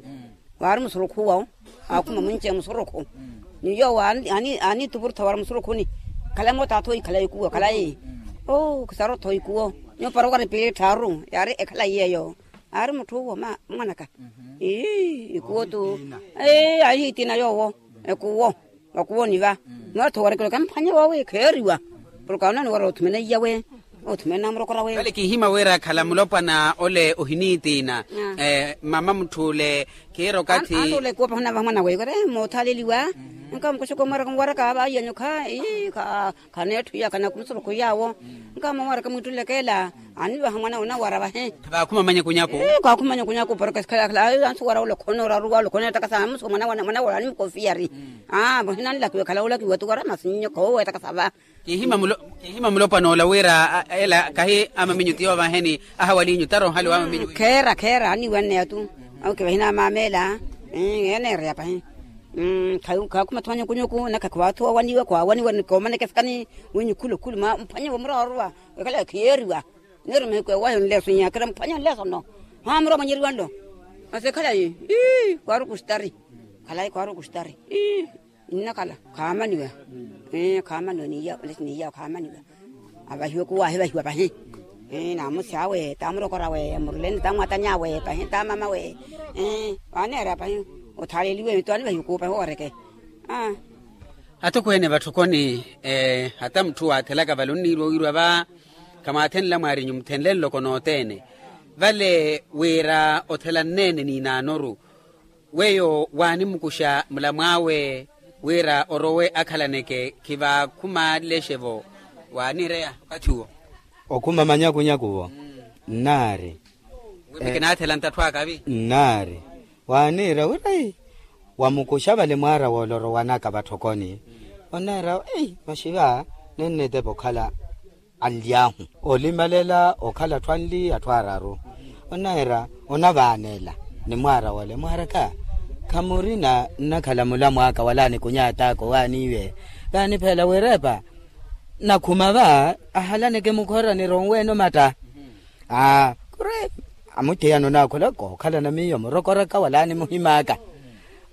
Waari musurukhu wawo. Aakhuma munci musurukhu. Ni yoowo aaniitupurutha wara musurukhuni. Khalayi mootaatha oyi khalayi ekuwo khalayi. Oo khisarottho ikuwo. Nyuwo para owara epiili etthaaru yaari ekhalayi yeeyo. Aari mutthu uwo mwanaka. Ii ikuwo tu. Ii ahiitiina yoowo. Ekuwo. Vakuwoni va. Mwatthu owarekeleke mphwanye wawe kheeriwa. Porke awo naani wara othumene iyawe. Othumene namurokorawe. Vale kihima wira khala mulopwana ole ohiniitiina. Mama mutth'ule khiira okathi antuule kuwo pahuna vamwana weiwere moothaaleliwa. Nkamukuxuka omwaraka nwaraka vaiya nyukha ii. Khaneetthu iya khanakumusuru khuyaawo. Nkaama omwaraka mwiittulekeela. Anivaha mwana wina wara vahi. Vaakhuma manyakunyaku. Kaakhuma manyakunyaku porke sikhala khala ansuwara olokhona oraruwa olokhona etakasa amusuka mwana wara animukofiyari. Aa vahinanlakiwe khala olakiwa ti wara masi nyoko owo etakasa va. Kihima mulopwana ola wira ela kahi amaminyu ti yoovaheni. Ahawalinyu tara ohali wa amaminyu. Kheera kheera aniiwanneya tu. Awo kivahina mameela. Eneereya pahi. Khaakhuma thumanya kunyuku naka khiwaathuwa waniwa khwaawaniwa ni koomaneke sikani. Wenyu khulu khulu mphwanyewe mura waruwa. Wekhala khiyeeriwa. Neero mehiko ewahi onleeso nyakira mphwanya onleeso nno. Mwaha mura omanyeriwa nlo. Masi ekhalayi. Ii khwaaruku ostari. Khalayi khwaaruku ostari. Ii nnakhala khaamaniwa. Khaamaniwa niiya olesi niiya khaamaniwa. Avahiwe kuwo ahivahiwa pahi. Naamusi awe taamurokorawe muruleni taamwatanyawe pahi taamamawe. Waaneera pahi. Othaaleliwe mito anivahiwe kuwo pahi owareke. Atokweene vatthokoni. Hata mutthu waathelaka vale onniiriwa wiiriwa va. Khamwaathenla mwaarinyu muthenle nloko nothene. Vale wira othelanneene niinaanoru, weyo waanimukuxa mulamw'awe wira orowe akhalaneke khivaakhumalexe-vo. Waanireya okathi uwo. Okhuma manyakunyaku-vo. Nnaari. Wi mikinaathela nttatthu akavi. Nnaari. Waaniira wira ei, wamukuxa vale mwaara w'ole orowanaka vatthokoni. Oneera ei, maxi va nennetepa okhala anly'ahu olimalela okhala atthu anli atthu araru. Oneera onavaanela ni mwaara w'ole mwaaraka, khamurina nnakhala mulamw'aka wala nikunyaat'aka owaaniiwe. Kaanipheela wirepa nakhuma va ahalaneke mukhora nironweene omatta. Aa, kuri amuthiyana onaakhula kookhalana miyo murokoraka wala nimuhim'aka.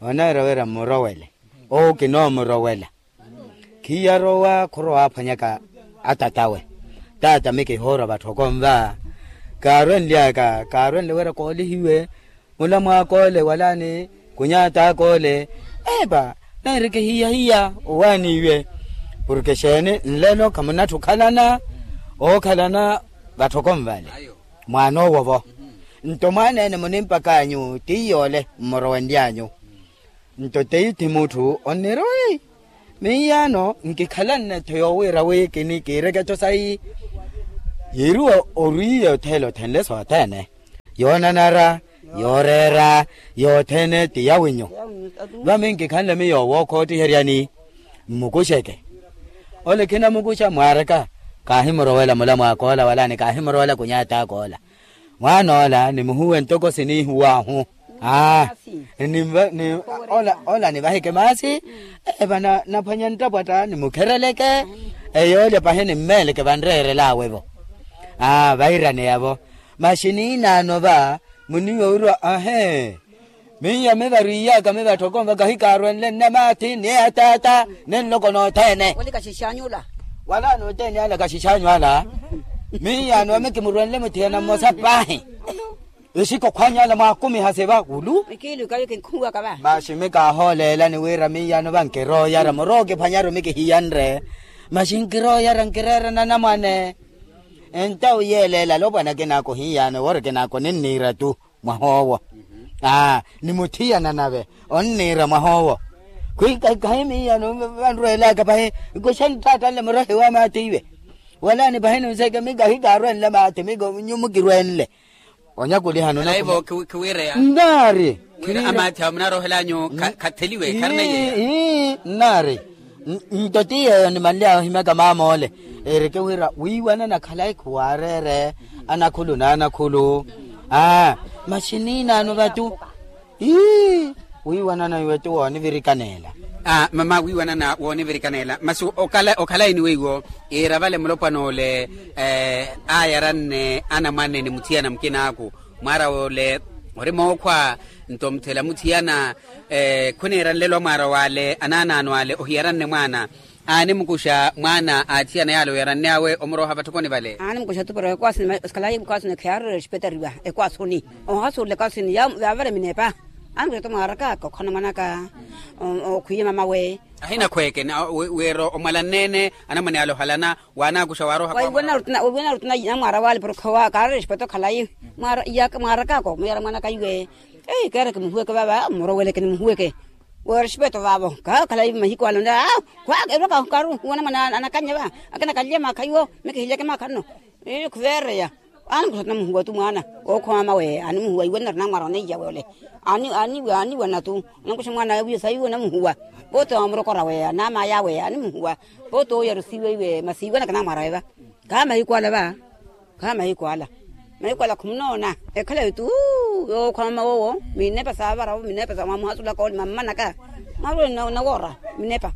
Oneera wira mmurowele owo kinoomurowela. Khiyarowa khurowaaphwanyaka atat'awe. Taata mi kihoora vatthoko nva. Kaarwenly'aka kaarwenle wira koolihiwe mulamw'ak'ole wala ni kunyaat'ak'ole. Epa neeri kihiyahiya owaaniiwe. Porke xeeni nlelo khamunatthi okhalana ookhalana vatthoko nvale mwaan'owo-vo. Nto mwaan'ene munimpak'anyu ti yoole mmurowenly'anyu. Nto teithi mutthu onniira wi miiyano nkikhalanne-tho yoowiira wi kini kiireke-tho sayi. Yiiriwa orwiiye othela othenle sothene yoonanara yooreera yothene ti yawinyu. Vami nkikhanle miyo wookhoottiheryani mmukuxeke. Ole khinamukuxa mwaaraka kaahimurowela mulamw'ak'ola wala ni kaahimurowela kunyaat'ak'ola. Mwaan'ola nimuhuwe ntoko siniihuw'ahu. Aa. Ola nivaheke maasi. Epa naphwanya nttapwatta nimukhereleke. Eyoolya pahi nimmeeleke vanreerel'awe-vo. Aa vairaneya-vo. Maxi niinaano va muniiwa wira ahee. Miyo mivarwiiy'aka mivatthoko nva kahikaarwenle nnamaathi ni ataata ni nloko nothene. Wala nothene ala kaxix'anyu ala. Miyo anoome kimurwenle muthiyana mmosa paahi. Exikokhw'anyu ala mwaakumiha seva wulu. Maxi mi kaahooleelani wira miyo anoova nkirooyara murookiphwanyaru mi kihiyanre. Maxi nkirooyara nkireerana anamwane. Entawu yeeleela alopwana kinaako hiyano wori kinaako ninniira tu. Mwah'owo. Aa ni muthiyana nave onniira mwah'owo. Khwikakhayi miiyano vanrweelaka pahi. Kuxa nttaatta nle murohi wa maati iwe. Wala ni pahi nunseeke mi kahi kaarwenle maati mi nyu mukirwenle. Onyakulihano nnaari. Wira amaathi awo munaroohelanyu khatheliwe kharina yeeya. Nnaari. Nto ti yeeyo nimanly'awe ohimyaka maamoole. Ereke wira wiiwanana khalayi khuwaareere anakhulu n'anakhulu. Aa maxi niinaano vatu. Ii wiiwanana iwe ti woonivirikanela. Aa mama wiiwanana woonivirikanela masi okhalayi ni weiwo. Iira vale mulopwan'ole aayaranne anamwane ni muthiyana mukin'aku. Mwaara w'ole ori mookhwa. Nto muthela muthiyana khuniira nlelo a mwaara w'ale anaanaano ale ohiyaranne mwaana. Aanimukuxa mwaana a athiyana yaale oyaranne awe omurooha vatthokoni vale. Aanimukuxa tu poro ekwasini esikalayi ekwasini kheyaaroreya oxipetariwa ekwasuni. Ohasuula ekwasini yaavale minepa. Aanimukuxa tu mwaaraka kokhana mwanaka okhwiye mamawe. Ahinakhweeke wira omwalanneene anamwane ale ohalana. Waanaakuxa waaroha waiwena rutuna namwaara wale porokho wa kaarere exipeta okhalayi. Mwaara iyaka mwaaraka ako muyara mwanaka iwe. Ei keereke muhuweke vava mmuroweleke ni muhuweke. Wira exipeta vavo kakhalayi mahiku ale onde a khwaka erwaka karu wona mwana anakannya va. Akina kanlye maakha iwo. Mikihilyeke maakha nno. Khuveereya. Aani nkuxa tuna muhuwa tu mwaana. Ookhoma mama weye aani muhuwa iwe nnari namwaara oneiya wole. Aani aani iwe aani iwe natu. Nankuxa mwaana awiye sayi iwe namuhuwa. Pooti oomurokora weye naamaya weye aani muhuwa. Pooti ooyarusiwe iwe masi iwe nakinamwaara weva. Khaamahiku ala va. Khaamahiku ala. Mahiku ala khumunoona. Ekhalayi tu. Yookhoma mama wowo minepa saavaravo minepa sa mwamuhasulaka ole mammanaka. Mwarwene nawoora minepa.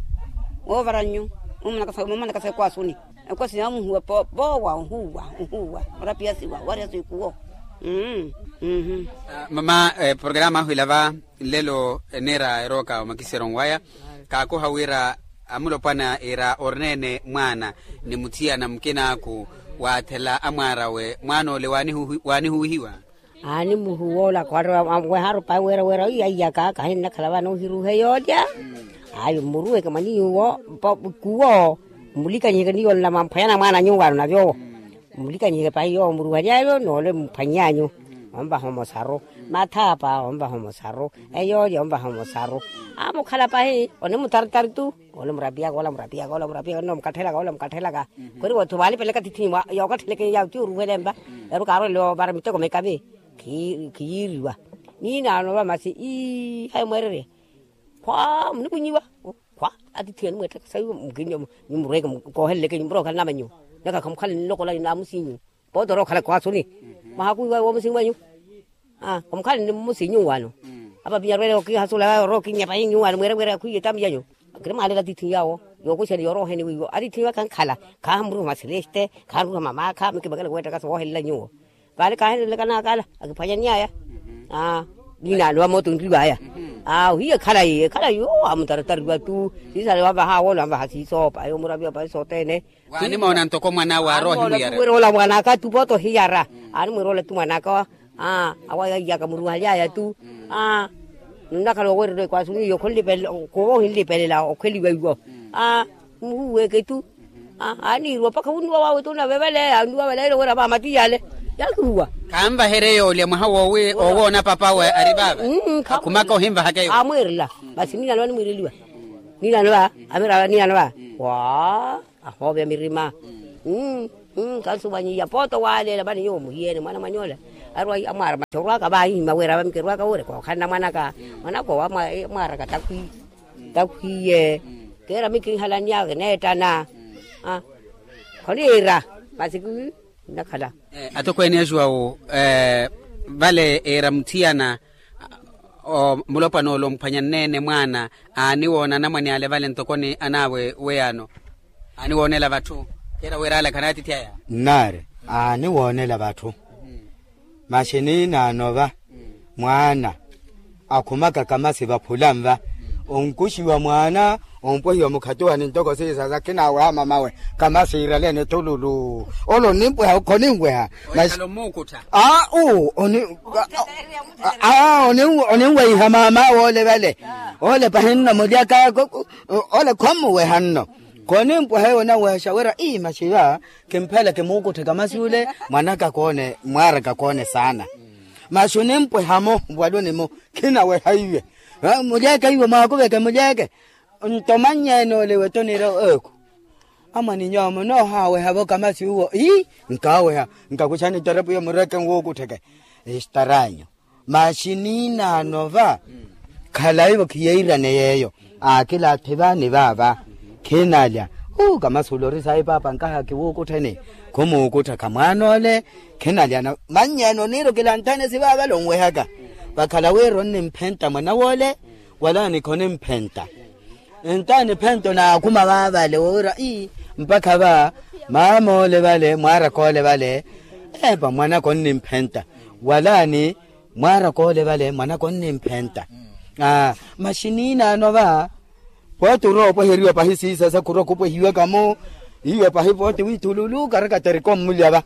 Woovara nnyu. Mumanaka sa mumanaka sa ekwasuni. Ekwasini amuhuwa poowa ohuwa ohuwa. Orapiyasiwa wariyasiwa ikuwo. Mmm. Mama, programa ahu ila va nlelo eniira erooka omakisero nwaya. Kaakoha wira amulopwana iira orina-ene mwaana ni muthiyana mukinaaku. Waathela amwaarawe mwaana ole waanihuwihiwa. Aanimuhuwa ola khwarewa wehaaru pahi wira wira iyaka kahinnakhala vaana ohiruhe yoolya. Ayo mmuruweke mwa niyuwo. Kuwo mmulikanyiheke niyo nla mwamphwanyana mwaana nyuwaano navyowo. Mulikanyiheke pahi yoowo muruhaly'ayo noole muphwanyanyu. Onvaha omosaru. Mathaapa onvaha omosaru. Eyoolya onvaha omosaru. Amukhala pahi onimutaritari-tu. Ola murapiyaka ola murapiyaka ola murapiyaka onno mukathelaka ola mukathelaka. Kori wootthu vaalipeleka tithinyi yookatheleke yawo ti oruhele mva. Eru kaarwele ovara miteko mikavi. Khiyiiriwa. Niinaano va masi ii hayi mweererye. Khwa munikunyiwa. Khwa atithi animweetthaka sayi. Mukini nyumurweke kooheleleke nyumurweke okhale namanyiwa. Naka khamukhala ninlokola naamusinyu. Pooti orookhala kwaasuni. Mwaha kuwiwa woomusinyu wanyu. Khamukhala ni mmusinyu wano. Apa pinyarwele okihasulaya orookinnya pahi nyuwano mweeremweere akhwiye tamiyanyu. Kirimwaalela atithi yawo. Yookuxani yorooheni wiiwo atithi yawo akhankhala. Khahamuriha masileste. Khahamuriha mamaakha mikimekele kuweettaka soohelela nyuwo. Vale kaahenelelaka naakala akiphwanyany'aya. Aa. Niinaano va moota onriw'aya. Aa ohiya ekhalayi ekhalayi oo amutaratariwa-tu. Siisale wavaha awoolo anvaha siisoopa yomuraviwa pahi sothene. Waanimoona ntoko mwan'awe arohi muyara. Wira ola mwan'aka-tu pooti ohiyara. Animwira ola-tu mwan'aka. Aa awo yaiyaka muruhaly'aya-tu. Aa nnakhala oweererya ekwaasuni iyo khunlipelela. Khuva ohinlipelela okheliwa iwo. Aa muhuweke-tu. Aaniiriwa mpakha wunnuwa wawe-tu onavevele anuwa vale aile wira vaamati yale. Yaakihuwa. Khanvaherye yoolya mwaha woowi owoona pap'awe ari vaava. Akhumaka ohinvahaka yoolya amwiirela. Masi niinano va nimwiireliwa. Niinano va. Amirava niinano va. Waa ahooveya mirima. Kansuwanyiya pooti owaaleela mani nyuwo muhiyeene mwana mwany'ola. Arwa amwaara masi orwaka vaahihima wira vamikirwaka wure kookhanna mwanaka. Mwanaka owo amwaaraka takhwi. Takhwiye. Keera mikinhalani awe neettana. Khoniira. Masi kinnakhala. Atokweene axuwawu vale eera muthiyana. Mulopwana ole omphwanya nneene mwaana aaniwoona anamwane ale vale ntoko ni anaawe weyano. Aaniwoonela vatthu. Keera wira ale khanaatithi aya. Nnaari aaniwoonela vatthu. Masi niinaano va mwaana akhumaka kamasi vaphula nva. Onkuxiwa mwaana ompwehiwa mukhatuwani ntoko siisasa khinaaweha mamawe. Kamasi iiraleene thululu. Ole onimpweha khoninweha. Masi aa uu oninwehiha mamawe ole vale. Ole pahi nno mulyaka. Ole khommuweha nno. Khonimpweha eyo onawehaxa wira ii masi va. Kimphela kimuukutthe kamasi ule. Mwanaka koone mwaaraka koone saana. Masi onimpweha-mo waluni-mo. Khinaweha iwe. Mulyeke iwe mwaakuveke mulyeke. Nto mannyeene ole iwe toniira eku. Amwaniny'awe munoohaaweha-vo kamasi uwo ii. Nkaaweha. Nkakuxani ttarepu iyo mureke nwuukuttheke. Estaranyu. Masi niinaano va. Khalayi-vo khiyeirane yeeyo. Aakilaatthi va ni vaava. Khinalya. Uu kamasi ula ori sayi paapa nkaha kiwuukuttheni. Khumuukutthaka mwaana ole. Khinalya. Mannyeene oniira okilanthane sivaavale onwehaka. Vakhala wira onnimphenta mwana w'ole. Wala ni khonimphenta. Ntaani phento naakhuma vaavale woowira ii. Mpakha va maama ole vale mwaaraka ole vale. Epa mwanaka onnimphenta. Wala ni mwaaraka ole vale mwanaka onnimphenta. Masi niinaano va. Pooti orowa opweheriwa pahi siisasa khurwa khupwehiwaka-mo. Iwe pahi pooti wiithululu karakaterika ommulya va.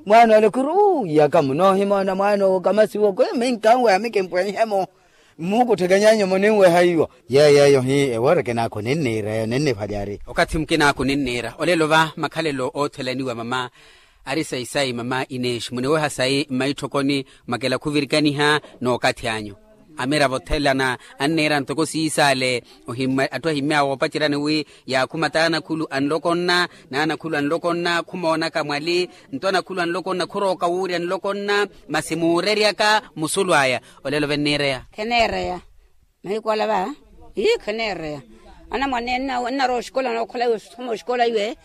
Mwaana ole khuri uu iyaka munoohimoona mwaana owo kamasi owo khuri minkanweha mikimpwenhe-mo. Mmuukuttheke nyanyu muninweha iwo. Yeeyo eyo hi ewooreke naakhu ninniira eyo ninniphwalyari. Okathi mukinaakhu ninniira olelo va makhalelo oothelaniwa mama. Ari sayi sayi mama ineexi muniweha sayi mmaitthokoni. Mwakela khuvirikaniha n'okathi anyu. Amiravo othelana anniira ntoko siisaale. Atthu ahimmyawe oopaceryani wi yaakhuma t'anakhulu anloko nna n'anakhulu anloko nna khumoonaka mwali. Nto anakhulu anloko nna khurooka wuurya nloko nna. Masi muureryaka musulu aya. Olelo venniireya. Kheneereya. Mahiku ala va ii kheneereya. Anamwane nnarowa oxikola nookhola iwe osoma oxikola iwe.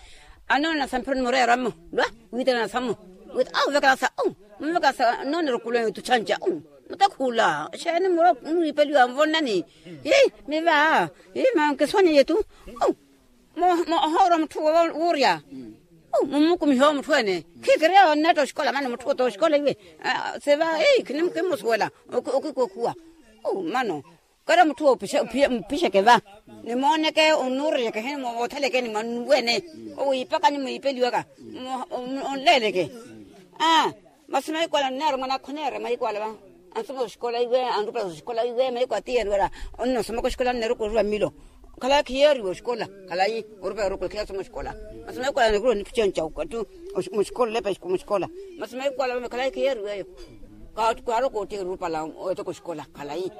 Anoona samphiro nimureera mmo lwa wiitana samu. Wiita auvekela sa u muvekela sa noonera okulu eyo tuchanca u. Mutakhuula. Xeeni muriipeliwa nvonnani. Ii miva ii mankiswanyiye tu. Ohoorwa mutthu wuurya. Mummukumiha owo mutthu-ene. Khikirya onneetta oxikola mano mutthu oto oxikola iwe. Seva ii khinimusuwela. Okikokhuwa mano. Kara mutthu owo mpixeke va. Nimooneke onnuurereke hini moothelekeni mwannuwene. Owiipakani mwiipeliwaka. Onleeleke. Masi mahiku ala nneera mwanakhu oneera mahiku ala va. Ansoma oxikola iwe anrupela oxikola iwe mahiku atiyeni wala. Onnosomaka oxikola anneera okoriwa mmilo. Khalayi khiyeeriwa oxikola. Khalayi orupaya orukula khiyasoma oxikola. Masi maikola nikuruwa nithu chenca okatthi muxikola olepa muxikola. Masi maikola vame khalayi khiyeeriwa eyo. Kaarokoottiha erupala. Oteka oxikola khalayi.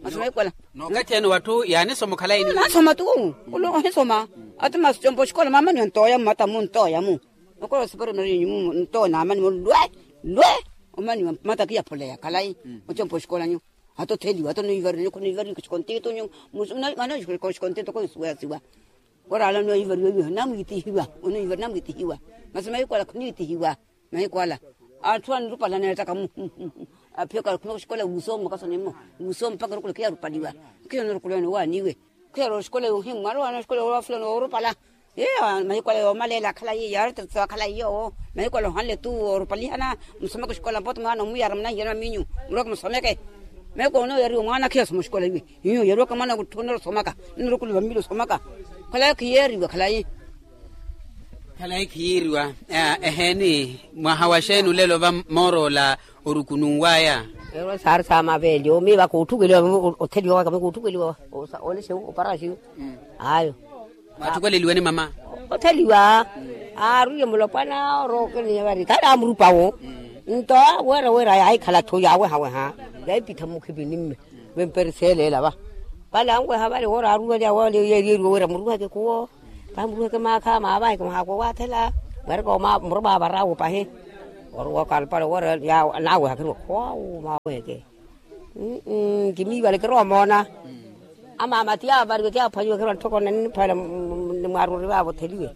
Masi maikola. Nookatthi ene watthu yaanisoma okhalayi ni nasoma tu. Ohisoma. Ati masi compa oxikola maamani ontooya mmata muntooya mu. Okola osipari marinyu mu ntoona amani mu lwe lwe. Omani mmata kiyaphuleya khalayi. Ocompa oxikola nyu. Atotheliwa atonoivariwa khoniivariwa xikontito nyu. Mano xikontito koisuwasiwa. Oraala onoivariwa iwe namwitihiwa. Onoivariwa namwitihiwa. Masi maikola khoniitihiwa. Maikola atthu anirupala neettaka mu. Aphiyaka khuna oxikola wuusooma kasonemo. Wuusooma mpakha orukula khiyarupaliwa. Khiya onorukula ene owaaniwe. Khiyari oxikola yohimmwari owaana oxikola yoofula noorupala. Iyo maikola yoomaleela akhalayi yaari tatisawa akhalayi yoowo. Maikola ohanle tu oorupalihana. Musomeke oxikola mpote mwaana omuyara munahiyana minyu. Muroke musomeke. Maikola onooyariwa mwaana khiyasoma oxikola iwe. Iyo yariwaka mwaana kutthu onorosomaka. Onorukula vamili osomaka. Khalayi khiyeeriwa khalayi. Khalayi khiyeeriwa. Eheeni mwaha wa xeeni olelo va mooroola orukununwaya. Ero saari saamaveeli omiiva kootthukeliwa. Otheliwa waka mwe kootthukeliwa. Olexe oparaxiyo. Ayo. Mwatthukeliwene mama. Otheliwa. Aarwiye mulopwana orookeleiye vari khale amurupa wo. Nto wira wira yaahikhala-tho yaawehaweha. Yaahipittha mmukhipini mme. Vemperiseeleela va. Vale anweha vale woora aaruweliwa wale yeeriwa wira muruweke khuwo. Pahi muruweke maakha maavaheke muhaakwe waathela. Mweereke muroma avaraawo pahi. Oruwaka alupale woora. Naaweha khiriwa khwawu maaweke. Kimiivale kirowa moona. Amaama ti avariwe ti aphwanyiwe khiriwa ntthoko nanniphwela. Ni mwaaruri vaavotheliwe.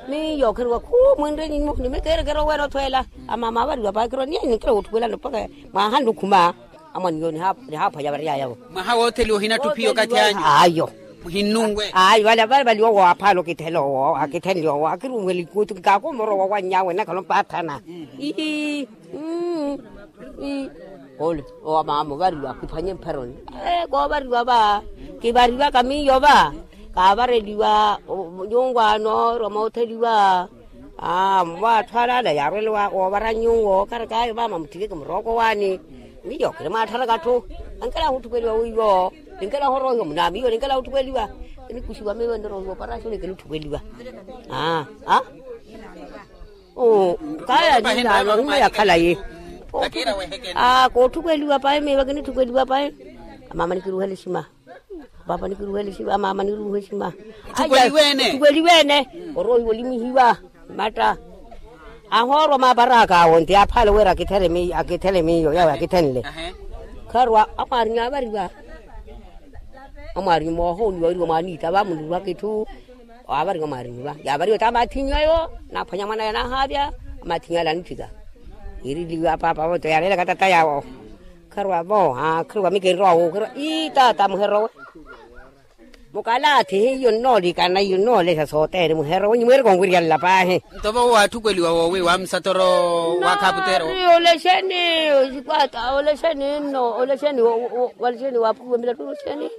Miyo khiriwa khu mwinre nyinyu nimikeerekere oweera othweela. Amaama avariwa pahi khiriwa niye ninkira wootthukwelano mpakha. Mwahanle okhuma. Amwaniyo nihaaphwanya variyayavo. Mwaha wootheliwa ohinatthu phiyo okathi anyu. Ayo. Muhinnunwe. Ayo vale vale vale owo aphaala okithela owo akithenle owo akirunwele ikuutu kikaakumorowa owannyaawe nnakhala ompaathana. Ii. Ole owa maama ovariwa kiphwanye mpheroni. Koovariwa va. Kivarivaka miyo va. Kaavareliwa nyungwaano erwa mootheliwa. Aa mwa atthu alaala yaarwele woovara nyuwo okarekaayo maama mutthikeke murooko waani. Miyo kiri mwaattharakattu. Ankela ahutthukeliwa wiiwo. Ninkela ahoroohiwa munaamiyo ninkela ahutthukeliwa. Kinikuxiwa miyo niroohiwa oparaxoni kinitthukeliwa. Aa. Kaya niinaano himmwe yakhalayi. Kootthukeliwa payi miiva kinitthukeliwa payi. Amaama nikiruhele exima. Paapa nikiruhele exima amaama niruhe exima. Tthukweliweene. Oroohiwa olimihiwa. Matta. Ahoorwa maaparaka awo nti aphaale wira akithele miyo yawe akithenle. Kharowa amwaarinya avariwa. Amwaarinya moohooniwa wiriwa mwaaniita va munirwaka itthu. Avariwa mwaariniwa yaavariwa ti amathinyu ayo. Naaphwanya mwanaya naahaavya. Amathinyu ale anitthika. Yiiriliwa paapa vonto yaaleelaka tata yawo. Kharuwa vo aa kharuwa mikinrowa wuukhira ii tata muherowe. Mukalaathi hiyo nnoolikana iyo nnoolesya sothene muherowe nyi mwiireke onwiryanla paahi. Nto vo waatthukweliwa woowi wa musatoro wa khaputeero. Olexeni. Olexeni nno olexeni. Olexeni waaphukiwa milattu olexeni.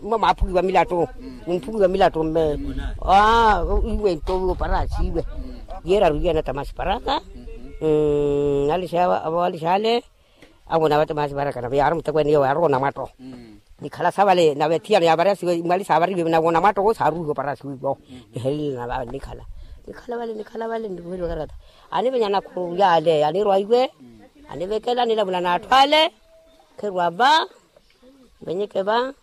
Mma mwaaphukiwa milattu. Mumphukiwa milattu mme. Iwe nto oparasi iwe. Yeeraru iwe anatamasi paraka. Nalixawa avawalixale. Awona vatamasi paraka nave yaari mutekweene iyo yaarowa onamwatto. Nikhala sa vale nave thiyano yaavariyasiwe imwali saavariwe nave onamwatto wo saaruwiha oparasi wiiwo. Nihelele nave nikhala nikhala vale nikhala vale niruheliwa karakata. Anivenya nakhuru yaale anirwa iwe. Anivekela nilavula n'atthu ale. Kheruwa va. Nvenyeke va.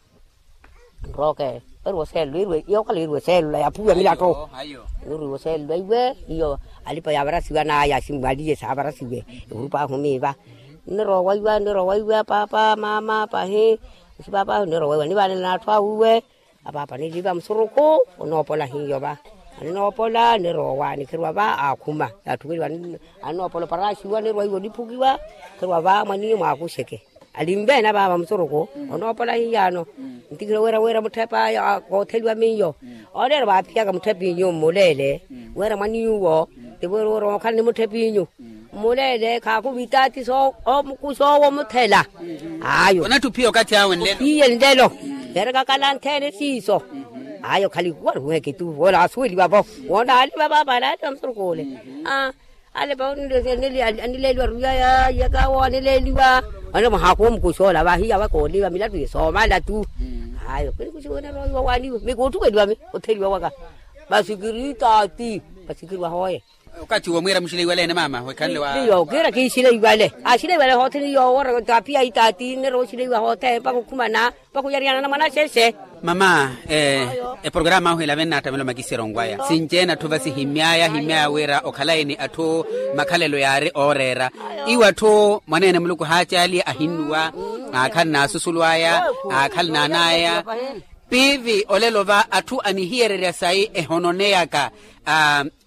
Nrooke. Eriwa oseelula iriwe iyo okhala iriwa oseelula yaaphuwiwa milatto. Niriwa oseelula iwe iyo. Alipa yaavarasiwa n'aya asimwaliye saavarasiwe. Ehurup'ahu miiva. Nnirowa iwe nnirowa iwe apaapa maama pahi. Asipaap'ahu nnirowa iwe nivaanela n'atthu awe iwe. Apaapa niliva musurukhu. Onoopola hiyo va. Aninoopola nnirowa nikhiruwa va aakhuma. Yaatthukweliwa. Aninoopola oparasiwa nnirowa iwe oniphukiwa. Khiruwa va mwaniyo mwaakuxeke. Alinveene apaapa musurukhu. Onoopola hiyaano. Ntikira wira wira mutthepa kootheliwa miyo. Oneera vaaphiyaka mutthep'inyu mmuleele. Wira mwaniyuwo. Tivo wira wira ookhala ni mutthep'inyu. Mmuleele khaakuvita ati soomukuxa owo omuthela. Ayo. Onatthi ophiya okathi awe nlelo. Ophiye nlelo. Neerekakala nthene siiso. Ayo khali waruheke tu woola asuweliwa vo. Woona aliva paapa alaaliva musurukhu ole. Aa. Alepa anileeliwa ruya yayaka awo anileeliwa. Anileeliwa muhaaku omukuxa ola vahiya vakooliva milattu ye soomala tu. Ayo kinikuxiwa oneera ohiwa waaniwe mikuttukweliwa mi otheliwa waka. Masi kiri taati. Masi kiri wahooye. Okathi womwiira muxileiwale ene maama wekhanle wa. Iyo kiira kiixileiwale. Axileiwale hothene iyo wora tapiya itaati nneera oxileiwa hothene mpakha okhumana. Mpakha oyariyanana mwana axexe. Mama, eporokaramu ahu elave nnaattamela omakisero onwaya sinci-ene atthu vasihimmyaya ahimmyaya wira okhalayi ni atthu makhalelo yaari ooreera. Iwo atthu mwaneene muluku haacaaliye ahinnuwa. Aakhala n'asusulu aya. Aakhala n'an'aya. Piivi olelo va atthu anihiyererya sayi ehononeyaka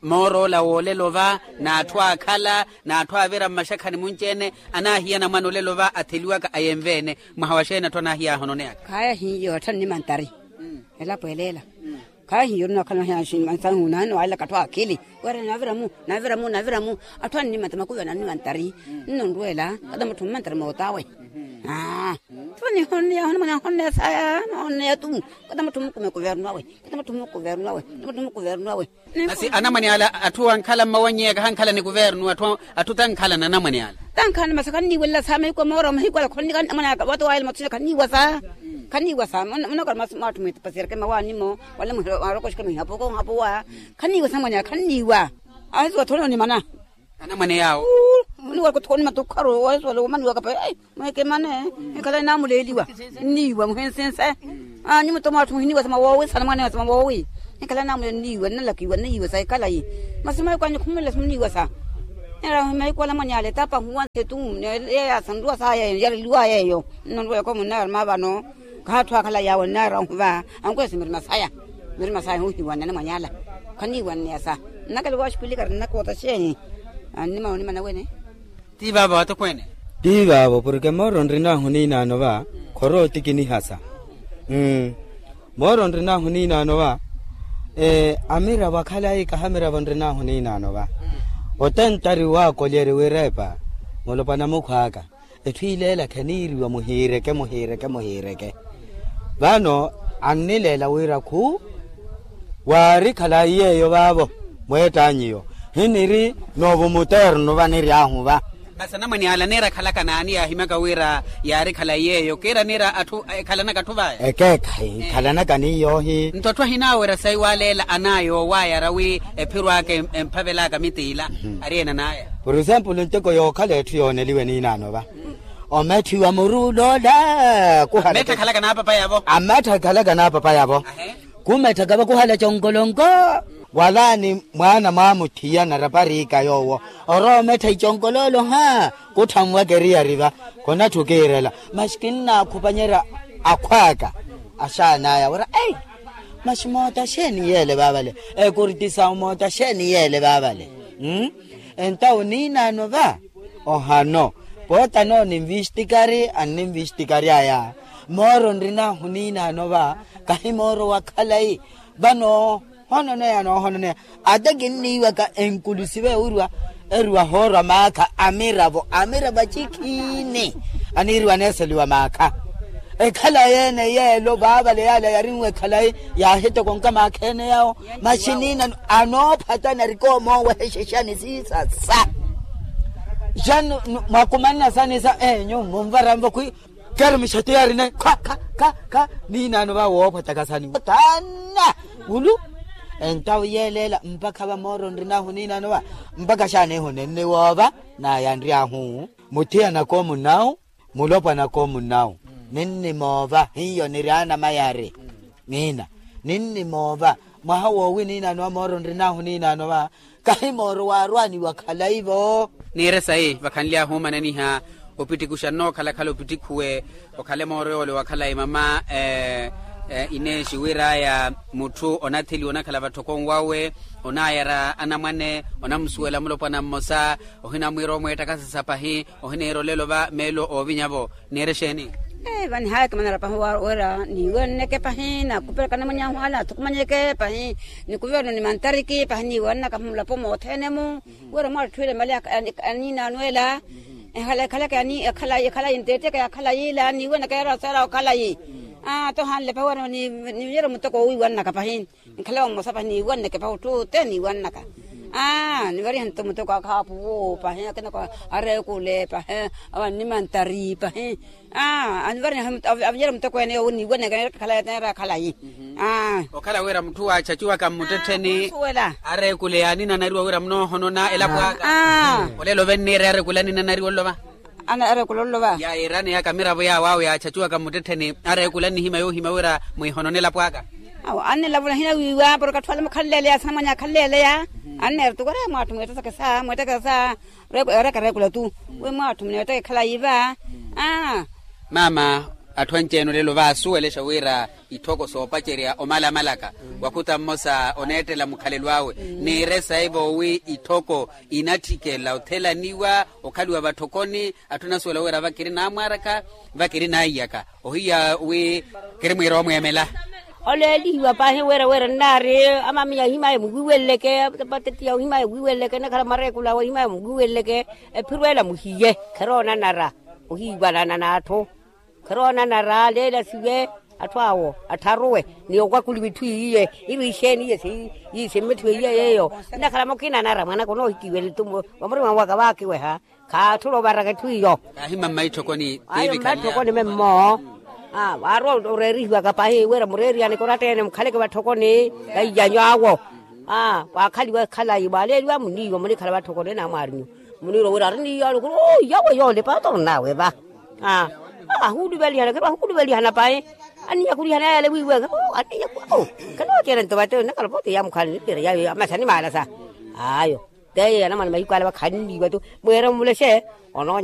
moor'ola w'olelo va n'atthu aakhala n'atthu aavira mmaxakhani munci-ene. Anaahiya anamwane olelo va atheliwaka ayenve-ene. Mwaha wa xeeni atthu anaahiya ahononeyaka. Khaya hiyo atthu annimantari. Elapo eleela. Khaya hiyo nnookhala mahiya mansahu naani waalelaka atthu akhili. Wira navira mu navira mu navira mu atthu annimantari makuvi anannimantari. Nno nrwela kata mutthu mmantari moot'awe. Aa. Tho nihonneya hona mwana ahonneya saya nahonneya tu. Kata mutthu mukumi kuvernu awe. Kata mutthu mukumi kuvernu awe. Kata mutthu mukumi kuvernu awe. Masi anamwane ala atthu ankhala mmawanyeyaka hankhala ni kuvernu atthu tankhala n'anamwane ala. Tankhala ni masi khanniiwelela sa mahiku a moora mahiku ala khonnika anamwane aka wata wayela mathusina khanniiwa sa. Khanniiwa sa munookhala masi mwatthu mwitipasiyereke mawaani-mo wala mwarokoxeke mwihapuko nhapuwa. Khanniiwa sa anamwane ala khanniiwa. Ahisiwa thoni onimana. Anamwane yaawo. Muniwa kuthoni matukharu wahisiwa womaniwaka pa. Mwekemane. Ekhala enaamuleeliwa nniiwa muhensense. Anyi muto mwatthu muhiniiwa sa mawoowi sana mwanewa sa mawoowi. Ekhala enaamuleeliwa nniiwa nnalakiwa nniiwa sa ekhalayi. Masi mahiku anyu khumulila simuniiwa sa. Neera mahiku ala mwanyaale tapahuwa nsetu. Yeeyo asanruwa saya eyo yareliwaya eyo. Nno nruwayaka omunnaaruma vano. Khatthu akhalayi awo nnaarahu va. Ankwesi mirima saya. Mirima saya huhiwanne anamwanyaala. Khanniiwanneya sa. Nnakela waxupilikari nnakoota xeeni. Annima onimana wene. Ti vaavo atokweene. Ti vaavo porke mooro nrinahu niinaano va khorootikinihasa. Mooro nrinahu niinaano va. Amiravo akhalayi kaha amiravo nrinahu niinaano va. Otentari waakolyeri wirepa mulopwana mukhw'aka. Etthu ileela kheniiriwa muhiireke muhiireke muhiireke. Vano annileela wira khu waari khalayi yeeyo vaavo. Mweett'anyu iyo hiniri n'ovo muternu vaniryahu va. Masi anamwane ala niira akhalaka n'ani yaahimyaka wira yaari khalayi yeeyo kiira niira atthu ekhalanaka atthu vaya. Ekeekhayi ekhalanaka ni yoohi. Nto atthu ahinaawerya sayi waaleela anaya owaayara wi ephiro aka emphavelaka mitiila. Ari ena anaya. Por exemplo nteko yookhala etthu yooneliwe niinaano va. Ometthiwa muru uloola kuhalametthakhalaka n'apapayavo. Amettthakhalaka n'apapayavo. Kumetthaka vakuhala conkolonko. Walaani mwaana mwamuthiya narapariika yoowo orowa omettha iconkoloolo ha. Kutthanwaka eriyari va. Konatthu kiirela masi kinnaakhupanyerya akhw'aka. Axaan'aya wira ei. Masi moota xeeni yeele vaavale. Ekurti sawu moota xeeni yeele vaavale. Entawu niinaano va. Ohano poota noo ninvistikari anninvistikary'aya. Mooro nrinahu niinaano va kahi mooro wa khalayi. Vano hoononeya noohononeya. Ata kinniiwaka enkulusive ewiriwa eriwa hoorwa maakha amiravo amiravo acikhiini. Aniiriwa aneeseliwa maakha. Ekhalayi ene yeelo vaavale yaala yarinwe ekhalayi. Yaahitokonka maakha ene yawo masi niina anoophatana arikoomoowa ehexexani siisasa. Xani mwakumanna sani sa enyu munvaranvo khwi. Keeri mixato yaarina kha kha kha kha. Niinaano va woophataka sani taana. Wulu entawo yeeleela mpakha va mooro nrinahu niinaano va. Mpakha xaanihu ninniwoova naya nryahu. Muthiyanaka omunnawu mulopwanaka omunnawu. Ninnimoova hiyo niri anamayari. Niina ninnimoova mwaha woowi niinaano va mooro nrinahu niinaano va. Kahi mooro waarwaniwa khalayi-vo. Niire sayi vakhanly'ahu omananiha. Opittikhuxa nnookhala-khala opittikhuwe. Okhale mooro yoole wa khalayi mama. Ineexi wir'aya mutthu onatheliwa onakhala vatthoko nwawe. Onaayara anamwane onamusuwela mulopwana mmosa. Ohinamwiira omweettakasasa pahi. Ohiniira olelo va meelo oovinya-vo. Niire xeeni? Vanihaayaka manara pahi wira niiwenneke pahi naakupelaka anamwane ahu ala athukumanyeke pahi. Nikuvernu nimantariki pahi niiwennaka mulapo mothene-mu. Wira mwatthu ela mali aniinaano ela. Ekhala ekhalayi ntetteke ya khalayi ila niiwennaka yaraseera okhalayi. Ata ohanle pahi wira ninyere muteko owiiwennaka pahi. Nkhala wa mmosa pahi niiwenneke pahi otthu ote niiwennaka. Aa nivariha nto muteko akhaapuwo pahi akinako, areekule pahi, awa nnimantari pahi. Aa anivariha, aviyere muteko ene yowo niiwaneke neera khalayi. Aa okhala wira mutthu waachachuwaka mmuttettheni, areekule aninanariwa wira munoohonona elapo aka. Olelo venniire areekule aninanariwa olova. Areekule olova. Yaayiirani yaka miravo yaawo awo yaachachuwaka mmuttettheni, areekule annihimya yoohimya wira mwiihonone elapo aka. Awo annilavula hinawiiwa porke atthu ale mukhanleeleya asinamwanya akhanleeleya. Anneera tu wira mwaatthu mweettekesa mweettekesa. Ereeka ereekula tu wi mwaatthu muneetteke khalayi va. Aa. Maama, atthu anci-ene olelo vaasuwelexa wira itthoko soopacerya omalamalaka, wakhuta mmosa oneettela mukhalelo awe. Niire saivo wi itthoko inatthikela othelaniwa okhaliwa vatthokoni. Atthu anasuwela wira vakiri naamwaaraka, vakiri naiyaka. Ohiya wi kirimwiira omweemela. Oleelihiwa paahi wira wira nnaari amamiya ohimaya muwiiweleleke, patetiya ohimaya muwiiweleleke nakhala mareekula awe ohimaya muwiiweleleke. Ephiro ela muhiye khiroonanara ohiiwanana n'atthu. Khiroonanara leela siwe atthu awo attharuwe ni okwakuli vitthu iyiye. Ivo ixeeni iye siiyi simmitthiwe iye yeeyo. Nnakhala mukinanara mwanaka onoohikiwele tu vamurima waka vaakiweha. Khaatthula ovaraka etthu iyo. Kaahimma mmaitthokoni. Ayo mmaitthokoni memmo. Aa vaarowa oreerihiwaka pahi wira mureeriyane koratta-ene mukhaleke vatthokoni. Vaiyanyu awo. Aa vaakhaliwa ekhalayi vaaleeliwa muniiwa munikhala vatthokoni namwaarinyu. Muniirwa wira ariniiyo alukulu. Yawe yoole paata orinawe va. Aa ahuuluvelihana khiro ahuuluvelihana pahi. Aniyakhulihana yale wiiweke. Aniyakhulihana. Khanooceera nto vate nnakhala pote yamukhala nipira yayo amasa nimaalasa. Ayo. Teyo yanamwane mahiku ale vakhanniiwa tu. Mweere mumulexe. Onoonya.